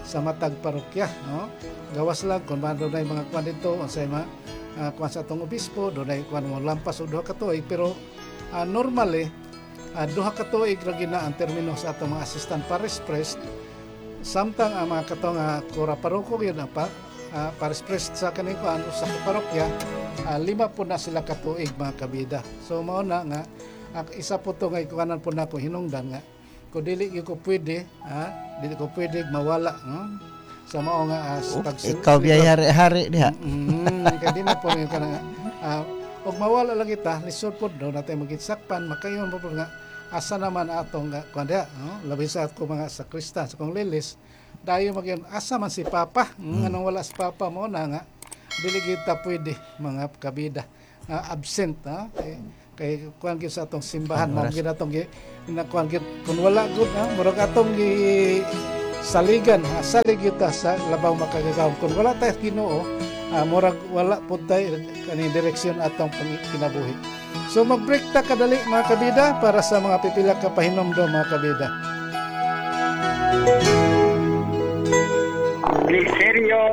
Speaker 4: sa matag parokya, no? Gawas lang kung man dunay mga kwan dito unsay mga uh, kwan sa atong obispo, dunay kwan mo lampas og duha ka tuig, pero ah, normally uh, duha ka tuig ra gyud na ang termino sa atong mga assistant parish priest. Samtang ang mga katong uh, kura paroko yun ang pa, uh, parish priest sa kaning kuan sa parokya, uh, lima po na sila katuig, mga kabida. So mao na nga uh, isa po to nga ikuanan po nako hinungdan nga kung dili gyud ko pwede, ha, dili ko pwede mawala, no? Sa mao nga uh,
Speaker 5: Oh, ikaw biyay hari-hari diha.
Speaker 4: Mm, kay di na po rin ka na uh, og mawala lang kita, lisod po do natin magitsakpan makayon po po nga asa naman atong nga kuan diha, no? Labi sa ako mga sakristan sa kong lilis dayo magyon asa man si Papa, mm. Anong wala si Papa? Mo na nga dili kita pwede, mga kabida, uh, absent, ha, kay, kay kuan gyud sa atong simbahan mao gyud atong gi kuan gyud kun wala gud, ha, murag atong gi saligan, ha, salig gyud ta sa labaw makagagahom. Kun wala tayo Ginoo, uh, murag wala pud tay kani direksyon atong kinabuhi. So mag-break ta kadali, mga kabida, para sa mga pipila ka pahinomdom, mga kabida.
Speaker 6: Liserio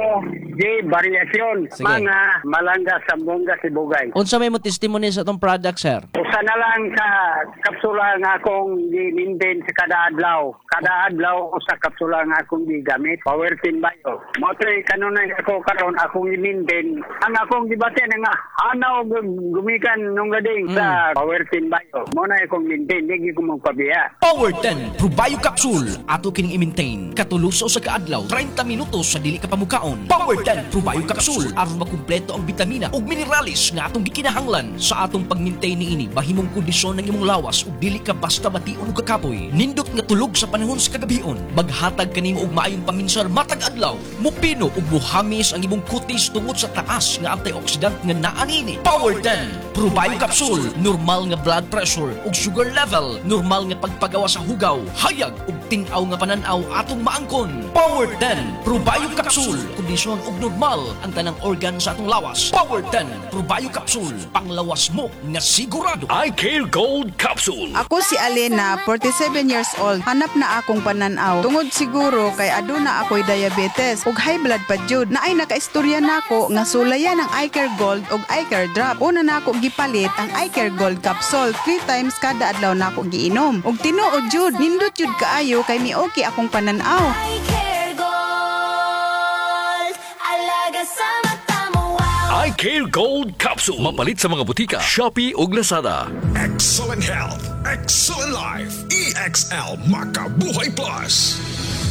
Speaker 6: J. Variacion,
Speaker 7: Sige.
Speaker 6: mga Malanga, Sambonga, Sibugay.
Speaker 7: Unsa may mo testimony sa atong product, sir?
Speaker 6: Usa na lang sa kapsula nga akong gi-maintain sa kada adlaw. Kada adlaw usa kapsula nga akong gigamit. Power Team Bio. Mao to'y kanunay ako karon akong i-maintain. Ang akong gibati na nga hanaw gumikan nung gading mm. sa Power Team Bio. Mao na akong maintain, di ko magpabiya.
Speaker 8: Power ten Probio Capsule ato kining i-maintain. Katulo sa usa ka adlaw, thirty minutos sa dili ka pamukaon. Power ten Probio Capsule aron makumpleto ang bitamina ug minerales nga atong gikinahanglan sa atong pag-maintain niini. Mahimong kondisyon ng imong lawas ug dili ka basta bation og kakapoy. Nindot nga tulog sa panahon sa kagabion. Maghatag kanimo og maayong paminsar matag adlaw. Mupino ug muhamis ang imong kutis tungod sa taas nga antioxidant nga naa niini. Power ten Probio Capsule, normal nga blood pressure ug sugar level, normal nga pagpagawa sa hugaw, hayag ug tin-aw nga panan-aw atong maangkon. Power ten Probio Capsule, kondisyon ug normal ang tanang organ sa atong lawas. Power ten Probio Capsule, panglawas mo nga sigurado.
Speaker 9: I Care Gold Capsule.
Speaker 10: Ako si Alena, forty-seven years old. Hanap na akong pananaw. Tungod siguro kay aduna ako'y diabetes ug high blood pa jud. Naay nakaistorya nako nga sulayan ang iCare Gold ug iCare Drop. Una na ako gipalit ang iCare Gold Capsule, three times kada adlaw nako giinom. Ug tinuod jud, nindot jud kaayo kay mi-okay akong pananaw.
Speaker 11: iCare Gold, alaga sa mata mo, wow.
Speaker 9: iCare Gold Capsule. Mapalit sa mga butika, Shopee ug Lazada.
Speaker 12: Excellent health, excellent life. E X L Makabuhay Plus.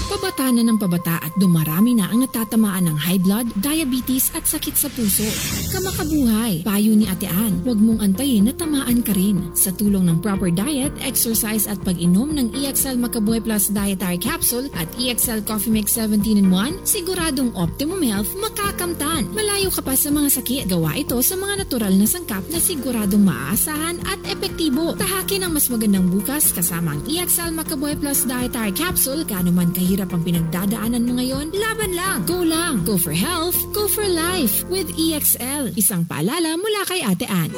Speaker 13: Pabata na ng pabata at dumarami na ang natatamaan ng high blood, diabetes at sakit sa puso. Kamakabuhay, payo ni Ate Ann, huwag mong antayin na tamaan ka rin. Sa tulong ng proper diet, exercise at pag-inom ng E X L Makabuhay Plus Dietary Capsule at E X L Coffee Mix seventeen in one, siguradong optimum health makakamtan. Malayo ka pa sa mga sakit. Gawa ito sa mga natural na sangkap na siguradong maaasahan at epektibo. Tahakin ang mas magandang bukas kasama ang E X L Makabuhay Plus Dietary Capsule. Gaano man kahirap ang pinagdadaanan mo ngayon, laban lang! Go lang! Go for health, go for life with E X L. Isang paalala mula kay Ate Ann.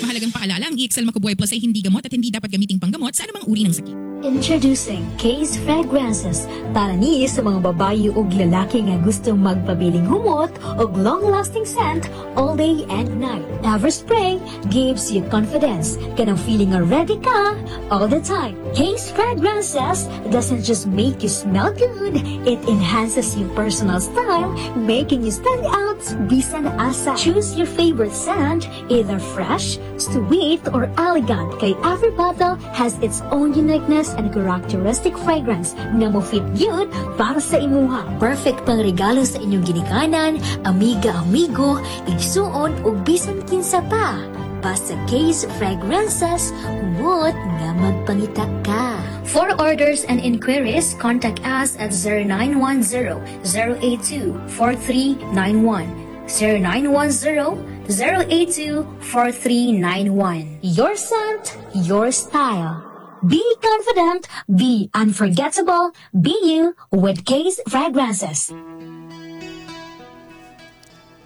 Speaker 14: Mahalagang paalala, ang E X L Makabuhay Plus ay hindi gamot at hindi dapat gamiting panggamot sa anumang uri ng sakit.
Speaker 11: Introducing Case Fragrances. Para ni sa mga babae ug lalaki nga gustong magpabiling humot og long-lasting scent all day and night. Every spray gives you confidence. Kanang feeling nga ready ka all the time. Case Fragrances doesn't just make you smell good, it enhances your personal style, making you stand out bisan asa. Choose your favorite scent, either fresh, sweet, or elegant. Kay every bottle has its own uniqueness and characteristic fragrance nga mo fit gyud para sa imuha. Perfect pang regalo sa inyong ginikanan, amiga, amigo, igsuon ug bisan kinsa pa. Basta Case Fragrances, humot nga magpangita ka. For orders and inquiries, contact us at zero nine one zero, zero eight two, four three nine one. zero nine one zero, zero eight two, four three nine one. Your scent, your style. Be confident, be unforgettable, be you with Case Fragrances.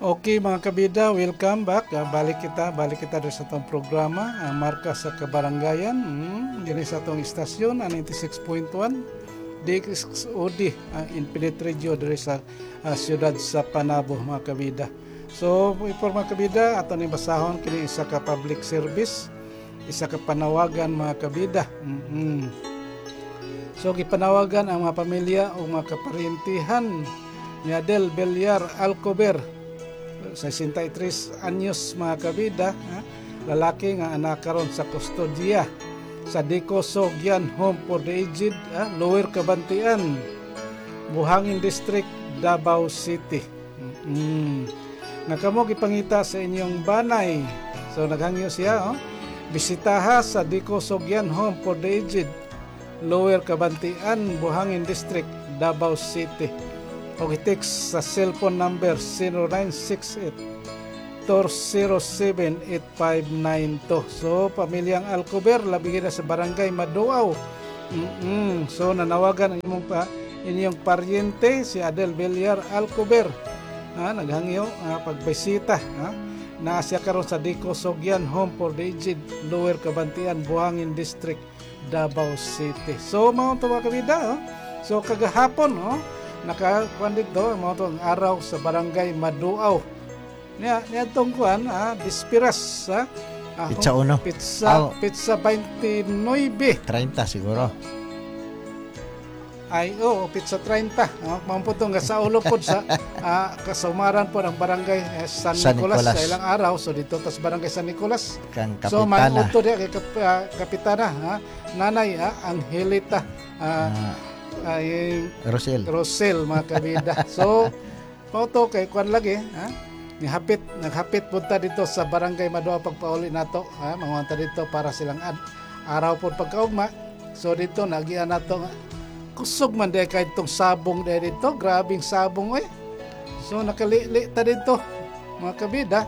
Speaker 4: Okay, mga kabida, welcome back. Ah, balik kita, balik kita diri sa atong programa, uh, Marka sa Kabarangayan. Mm, diri sa atong istasyon, ang ninety-six point one D X O D, uh, Infinite Radio diri sa ah, siyudad sa Panabo, mga kabida. So, for mga kabida, ato ni basahon kini isa ka public service, isa ka panawagan, mga kabida. Mm-mm. So gipanawagan ang mga pamilya o mga kaparyentihan ni Adel Villar Alcover, sesenta y tres anyos, mga kabida, ha? Lalaki nga anak karon sa kustodiya sa Dico Sogyan Home for the Aged, ha? Lower Cabantian, Buhangin District, Davao City. Mm. Nga kamo gipangita sa inyong banay. So naghangyo siya, oh. Bisitaha sa Dico Sogyan Home for the Aged, Lower Cabantian, Buhangin District, Davao City. O i-text sa cellphone number zero nine six eight four zero seven, eight five nine two. So, pamilyang Alcover, labi na sa Barangay Maduaw. Mm-mm. So, nanawagan ang imong pa, inyong paryente, si Adel Villar Alcover. Ah, naghangyo ah, pagbisita. Ah, naa siya karon sa Dico Sogyan Home for the Aged, Lower Cabantian, Buhangin District, Davao City. So, mao to, mga kabida. Oh. So, kagahapon, oh, naka kuan dito, mao to ang araw sa Barangay Maduaw. Niya, niya tong kuan, ah, Dispiras, ah, ah,
Speaker 5: Pizza uno.
Speaker 4: Pizza,
Speaker 5: Ah.
Speaker 4: Pizza twenty-nine.
Speaker 5: thirty siguro.
Speaker 4: Ay, oo, pizza thirty. Oh, mao po nga sa ulo po sa ah, kasumaran po ng Barangay eh, San,
Speaker 5: San
Speaker 4: Nicolas,
Speaker 5: Nicolas.
Speaker 4: sa ilang araw. So dito tas Barangay San Nicolas.
Speaker 5: Kang
Speaker 4: So
Speaker 5: kapitana.
Speaker 4: manuto diya kay kap, ah, kapitana, ha? Nanay ah, Angelita ah, ay
Speaker 5: Rosel.
Speaker 4: Rosel, mga kabida. So mao to kay kuan lagi, ha? Nihapit, naghapit punta dito sa Barangay Maduaw pagpauli nato, ha? Manguanta dito para silang ad, araw po pagkaugma. So dito nagian nato nga kusog man di kay itong sabong di dito, grabing sabong eh. So nakalili ta dito, mga kabida.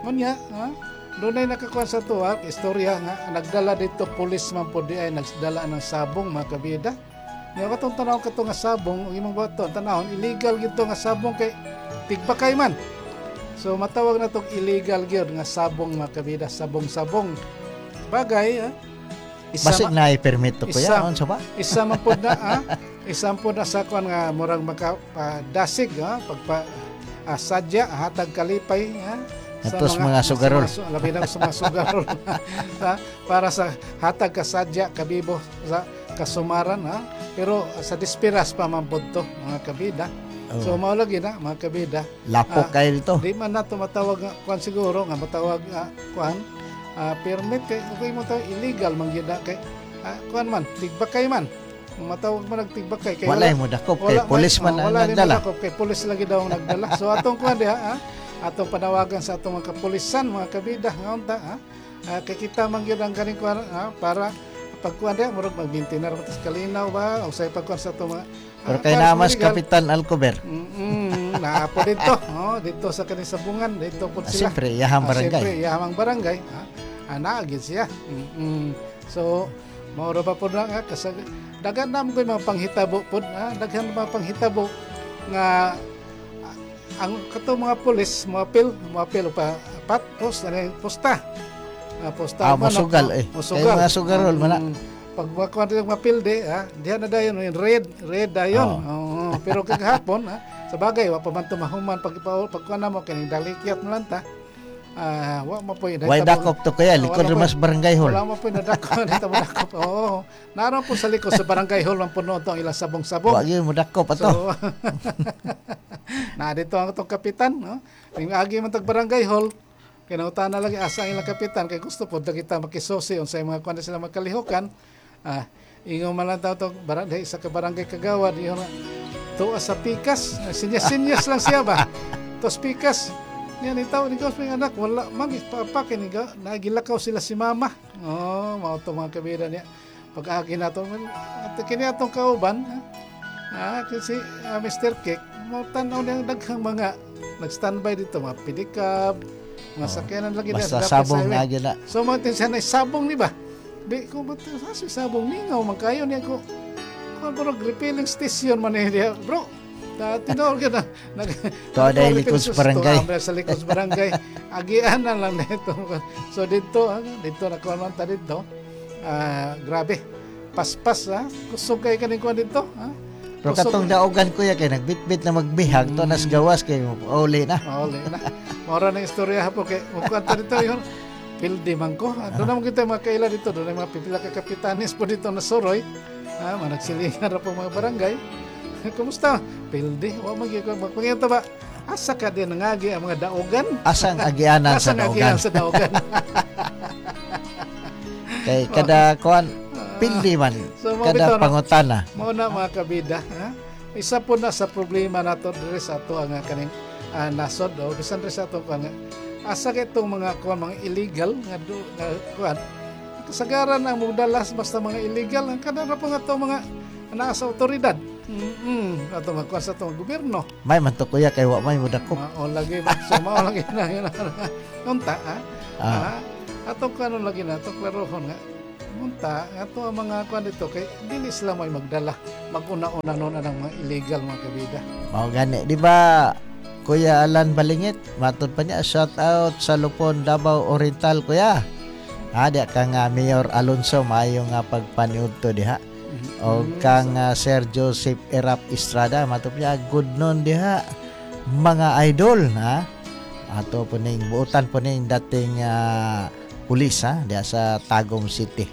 Speaker 4: Ngunya, ha? Doon ay nakakuha sa tuwa, istorya nga nagdala dito, pulis man po di ay nagdala ng sabong, mga kabida. Nya katong tanaw kato nga sabong, ang imong bato, tanawon illegal gito nga sabong kay tigbakay man. So matawag na tong illegal gyud nga sabong, mga kabida, sabong-sabong. Bagay, ha?
Speaker 5: Basig
Speaker 4: ma-
Speaker 5: na permit to, kuya.
Speaker 4: Isa,
Speaker 5: Unsa ba?
Speaker 4: Isa man pod na, ha? Isa man pod na sa kuan nga murag maka pa, dasig, ha? Pagpa ah, sadya hatag kalipay, ha?
Speaker 5: Atos mga sugarol.
Speaker 4: Sa mga, labi na sa mga sugarol, ha? Para sa hatag kasadya kabibo sa kasumaran, ha? Pero sa Dispiras pa man pod to, mga kabida.
Speaker 5: Oh.
Speaker 4: So mao lagi na, mga kabida.
Speaker 5: Lapok
Speaker 4: Ah,
Speaker 5: kayo dito.
Speaker 4: Di man na tumatawag nga kuan siguro nga matawag nga kuan ah, permit kay okay mo tawag illegal man gyud na kay ah, kuan man tigbakay man. Kung matawag man nagtigbakay kay
Speaker 5: Walay mo dakop kay
Speaker 4: wala
Speaker 5: pulis man
Speaker 4: oh,
Speaker 5: ang
Speaker 4: wala ni
Speaker 5: nagdala.
Speaker 4: modakop kay pulis lagi daw ang nagdala. So atong kuan diha, ha, atong panawagan sa atong mga kapulisan, mga kabida, nga unta, ha. Ah, kay kita man gyud ang kaning kuan, ha, para pagkuan diha murag mag-maintainer man tas kalinaw ba o say pagkuan sa atong mga
Speaker 5: Pero
Speaker 4: ah,
Speaker 5: kay
Speaker 4: para sa
Speaker 5: namas
Speaker 4: legal.
Speaker 5: Kapitan Alcover.
Speaker 4: Mm, naapo dito. Oh, dito sa kaning sabungan, dito po
Speaker 5: Ah,
Speaker 4: sila.
Speaker 5: siyempre, iyahang
Speaker 4: Ah,
Speaker 5: barangay.
Speaker 4: Siyempre, iyahang barangay. Ha? Ah, naagid siya. Mm-mm. So, mao ra ba po na nga kasag daghan na mo ko'y mga panghitabo pod, ha? Daghan mga panghitabo nga ah, ang kato mga pulis moapil moapil pa pat post ano posta. Ah, posta
Speaker 5: Ah,
Speaker 4: man,
Speaker 5: mosugal,
Speaker 4: no?
Speaker 5: eh.
Speaker 4: Mosugal.
Speaker 5: Kay mga sugarol man na.
Speaker 4: Mm, pag makuha nila mapilde, ha, diha na dayon yung red, red dayon.
Speaker 5: Oh.
Speaker 4: Oo, pero kagahapon, ha, sa bagay wa pa man tumahuman pag pagkuha na mo kining dalikyat mo lang ta. Ah, wa mo po
Speaker 5: Way dakop to, kuya, likod
Speaker 4: Wala po-
Speaker 5: mas barangay hall.
Speaker 4: Wala mo po nadakop, dito mo dakop. Oo. Naroon po sa likod sa barangay hall man puno ang ilang sabong-sabong.
Speaker 5: Wa gyud mo dakop ato.
Speaker 4: So, na dito ang atong kapitan, no? Ning agi man tag barangay hall, kinautan na lagi asa ang ilang kapitan kay gusto pod na kita makisusi unsay mga kuan sila magkalihukan. Ah, ingon man lang taw tong barangay sa ka barangay kagawad ingon na tuwa sa pikas, sinyas-sinyas lang siya ba. Tos pikas. Niya ni tao ni Gos anak wala man pa kini nagilakaw sila si mama. Oh, mao to, mga kabida niya. Pag agi nato at kini atong kauban, ah, kasi ah, Mister Cake, mo tan-aw niya daghang mga nag-standby dito, mga pedicab, mga
Speaker 5: Oh.
Speaker 4: sakyanan lagi
Speaker 5: Basta
Speaker 4: dapit sa
Speaker 5: sabong
Speaker 4: highway.
Speaker 5: na gyud na.
Speaker 4: So mga tin siya na sabong ni ba? Di ko ba sa si sabong mingaw man kayo niya ko. Ko bro refilling station man ni diha, bro. Ta tinuod gyud na. Nag
Speaker 5: Tuwa dahil likod sa barangay.
Speaker 4: Tuwa sa likod sa barangay. Agian na lang dito. So dito, ah, dito na kuan man ta dito. Ah, grabe. Paspas ha. Kusog kay kaning kuan dito, ha.
Speaker 5: Pero
Speaker 4: Kusog.
Speaker 5: katong daogan, kuya, kay nagbitbit na magbihag to nas gawas kay uli na.
Speaker 4: Mauli na. Maura na istorya po kay mukuan ta dito yun. Pildi man ko. Ah, doon naman kita mga kaila dito. Doon mga pipila ka kapitanis po dito na suroy. Ah, mga nagsilingan ra po mga barangay. Kumusta? Pildi, wa man gyud ko magpangita ba? Asa ka din nangagi ang mga daugan?
Speaker 5: Asang agianan sa
Speaker 4: Asang
Speaker 5: daugan.
Speaker 4: agianan sa daugan?
Speaker 5: Kay kada kuan pildi man.
Speaker 4: So, mga
Speaker 5: Kada
Speaker 4: bitaw na-
Speaker 5: pangutana.
Speaker 4: Mao na mga kabida, ha? Isa po na sa problema nato diri sa ato ang kaning ah, nasod o bisan diri sa ato kuan nga asa kay itong mga kuan mga illegal nga do nga kuan kasagaran ang mugdalas basta mga illegal ang kada ra po nga ato mga naa sa otoridad. Mm-mm. Ato mga kuan sa atong gobyerno.
Speaker 5: May man to kuya kay wa may mudakop.
Speaker 4: Mao lagi so mao lagi na yun. Unta ha.
Speaker 5: Ah.
Speaker 4: Ah, atong kuan lagi na atong klarohon nga Munta, ato ang mga kuan dito kay dili sila may magdala. Maguna-una noon ang mga illegal mga kabida.
Speaker 5: Mao gani, di ba? Kuya Alan Balingit, matod pa niya shout out sa Lupon Davao Oriental kuya. Ha, di ka nga Mayor Alonso maayo nga pagpaniud to diha. O kang ah, Sir Joseph Erap Estrada, matod niya good noon diha mga idol ha. Ato po ning buotan po ning dating ah, pulis ha diha sa Tagum City.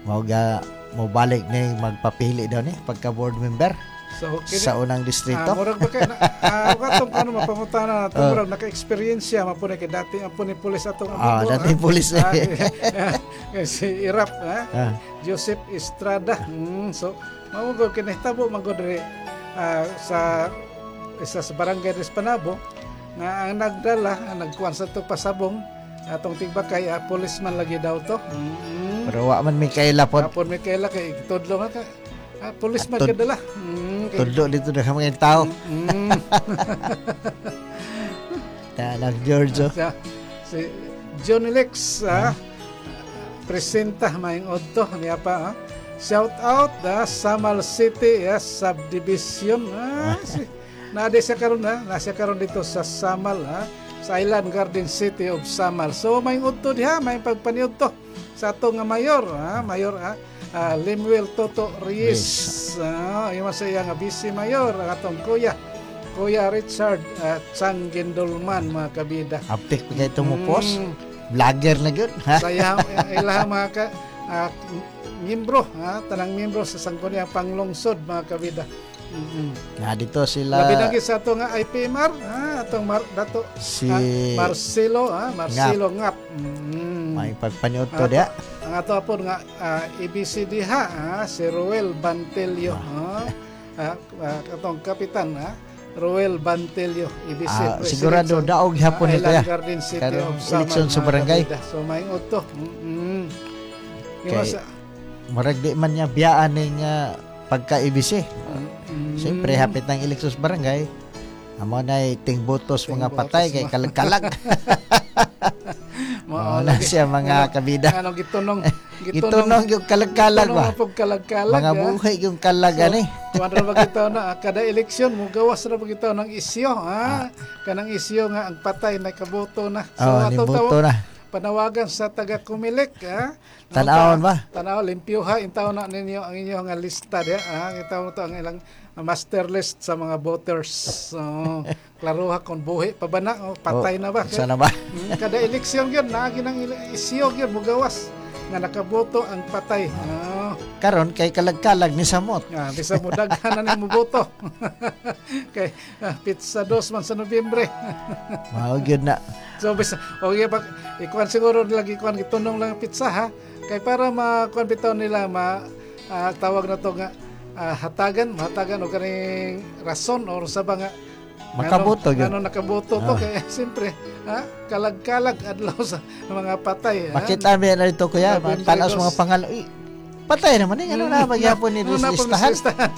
Speaker 5: Mao ga mo balik ning magpapili daw ni pagka board member
Speaker 4: So, kini-
Speaker 5: sa unang distrito.
Speaker 4: Ah, murag ba kay na, ah, katong kuno mapangutana nato
Speaker 5: Oh.
Speaker 4: murag naka-eksperyensya man po ni kay dati ang po ni pulis atong
Speaker 5: Ah,
Speaker 4: amigo,
Speaker 5: dating pulis.
Speaker 4: Ah, kay si Irap ha.
Speaker 5: Ah.
Speaker 4: Joseph Estrada. Mm, so mao gud kinahitabo man gud diri ah, sa isa sa barangay des Panabo nga ang nagdala ang nagkuan sa to pasabong atong tigbakay ah, policeman lagi daw to. Mm.
Speaker 5: Pero wa man may kaila pod.
Speaker 4: Hapon may kaila kay tudlo man ka. Ah, policeman
Speaker 5: Tud-
Speaker 4: kadala. Mm, kay-
Speaker 5: Tudlo dito na kami tao.
Speaker 4: Mm.
Speaker 5: Na nag Giorgio.
Speaker 4: Sa- si Johnny Lex ah, presenta maayong udto niya pa ah. Shout out ah, Samal City ah, Subdivision ah, si, naade siya karon ah, nasa karon dito sa Samal ah, sa Island Garden City of Samal. So maayong udto diha, may pagpaniudto sa ato nga mayor ah, mayor ah, ah, Lemuel Toto Reyes. Ah, yung sa iya nga vice mayor ang atong kuya. Kuya Richard uh, Changgindolman mga kabida.
Speaker 5: Aptik pa kay mo post.
Speaker 4: Mm.
Speaker 5: Vlogger na gyud ha.
Speaker 4: Sa iya ilaha mga ka, ah, miyembro ha, tanang miyembro sa Sangguniang Panglungsod mga kabida. Mm-mm.
Speaker 5: Na dito sila
Speaker 4: Labi na gyud sa ato nga I P M R ha, atong Mar, Dato
Speaker 5: si
Speaker 4: ah, Marcelo ha, Marcelo Ngap. Mm.
Speaker 5: May pagpaniudto
Speaker 4: Ato-
Speaker 5: diha.
Speaker 4: Ang ato apon nga ah, A B C diha ha, si Ruel Bantelio ha. Ah, ah, atong kapitan ha, Ruel Bantelio A B C
Speaker 5: Ah,
Speaker 4: President
Speaker 5: sigurado
Speaker 4: sa,
Speaker 5: daog hapon
Speaker 4: ah,
Speaker 5: nito ya.
Speaker 4: Island Garden City
Speaker 5: Karong
Speaker 4: of Samal,
Speaker 5: eleksyon sa
Speaker 4: mga
Speaker 5: barangay.
Speaker 4: kabida. So may udto. Mm.
Speaker 5: Kay murag di man niya biyaan ning ah, pagka-A B C.
Speaker 4: Mm.
Speaker 5: Siyempre hapit ng eleksyon sa barangay. Amo na tingbotos mga
Speaker 4: Tingbotos
Speaker 5: patay kay
Speaker 4: mga-
Speaker 5: kalag-kalag.
Speaker 4: Mao
Speaker 5: Mao na
Speaker 4: lagi.
Speaker 5: siya mga
Speaker 4: Ano-
Speaker 5: kabida.
Speaker 4: Ano gitunong
Speaker 5: Gitunong yung kalag-kalag ba?
Speaker 4: Gitunong pog kalag-kalag.
Speaker 5: Mga
Speaker 4: ah.
Speaker 5: buhay yung kalag ani.
Speaker 4: Kuan ra ba kita na ah, kada eleksyon mo gawas ra ba kita ng isyo ha. Kanang isyo nga ang patay nakaboto na.
Speaker 5: Oh,
Speaker 4: atong
Speaker 5: niboto
Speaker 4: tawa-
Speaker 5: na.
Speaker 4: Panawagan sa taga Comelec ha.
Speaker 5: Tan-awon ba?
Speaker 4: Tanaw limpyuha intaw na ninyo ang inyong nga lista diha ha. Intaw to ang ilang master list sa mga voters. So, klaruha kung buhi pa ba na o patay
Speaker 5: Oh,
Speaker 4: na ba.
Speaker 5: sana ba?
Speaker 4: Mm, kada eleksyon gyud naagi ng ila- isyo gyud mugawas nga nakaboto ang patay. Oh.
Speaker 5: Karon kay kalag-kalag ni samot.
Speaker 4: Ah, bisa mo daghan na nimo boto. Kay ah, pizza dos man sa Nobyembre.
Speaker 5: Mao gyud na.
Speaker 4: So bisa okay pag ikuan siguro nila ikuan gitunong lang ang pizza ha. Kay para makuan bitaw nila ma ah, tawag na to nga ah, hatagan, mahatagan og kaning rason or sa ba nga
Speaker 5: Makaboto gyud.
Speaker 4: Ngano nakaboto to
Speaker 5: Ah.
Speaker 4: kay siyempre ha, kalag-kalag adlaw sa mga patay ha.
Speaker 5: Makita mi na dito kuya,
Speaker 4: Nobyembre
Speaker 5: tanaw sa
Speaker 4: dos.
Speaker 5: mga pangalan. Uy, patay naman ni ano na magyapon ni
Speaker 4: Ano na po
Speaker 5: listahan.
Speaker 4: listahan.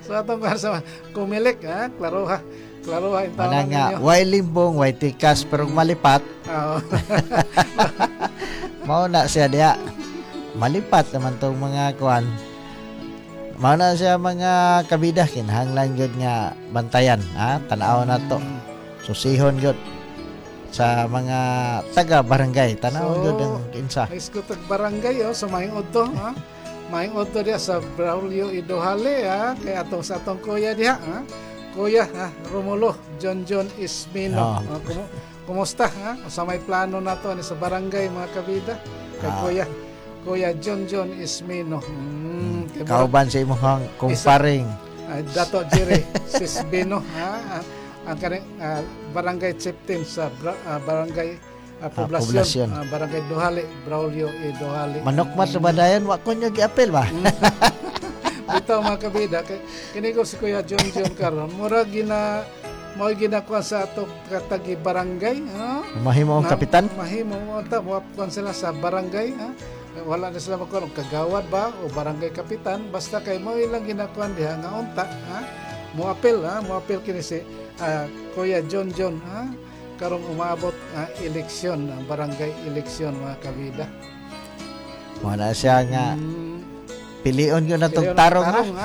Speaker 4: So atong kuan sa Comelec ha, klaro ha. Klaro ha intaw
Speaker 5: Mana
Speaker 4: na
Speaker 5: nga,
Speaker 4: ninyo.
Speaker 5: way limbong, way tikas, pero malipat,
Speaker 4: Oo.
Speaker 5: mao na siya diha. Malipat naman tong mga kuan. Mao na siya mga kabida kinahanglan gyud nga bantayan, ha? Tan-aw na to. Susihon gyud sa mga taga barangay. Tan-aw
Speaker 4: So,
Speaker 5: gyud ang kinsa.
Speaker 4: Ay tag barangay oh, so maayong udto ha. Maayong udto diha sa Braulio Idohale ha, kay atong sa atong kuya diha ha. Kuya ha, Romulo John John Ismino.
Speaker 5: Oh.
Speaker 4: Ah, kumu- kumusta ha? Sa may plano nato ani sa barangay mga kabida kay
Speaker 5: Ah.
Speaker 4: kuya Kuya John John Ismino. Mm, kay murag-
Speaker 5: Kauban sa imong kumparing
Speaker 4: Ah, Dato Jerry Sisbino, ha? Ah, ang kani ah, barangay chieftain sa bra- ah, barangay ah, Poblacion,
Speaker 5: Poblacion.
Speaker 4: ah, barangay Duhali, Braulio E. Duhali.
Speaker 5: Manukmat sa badayon, wa ko nyo giapil ba?
Speaker 4: Bitaw, mga kabida, kay kini ko si Kuya John John karon, mura gina mao ginakuha sa ato katagi barangay, ha?
Speaker 5: Mahimo ang
Speaker 4: Na-
Speaker 5: kapitan.
Speaker 4: Mahimo mo ta mo kuan sila sa barangay, ha? Wala na sila magkuan kagawad ba o barangay kapitan, basta kay mo ilang ginakuan diha nga unta, ha? Mo apel, ha? Mo apel kini si ah, Kuya John John, ha? Karong umaabot ah, eleksyon, ang barangay eleksyon, mga kabida.
Speaker 5: Wala siya nga pilion ko na tong
Speaker 4: Pilion
Speaker 5: tarong, ha?
Speaker 4: Tarong, ha?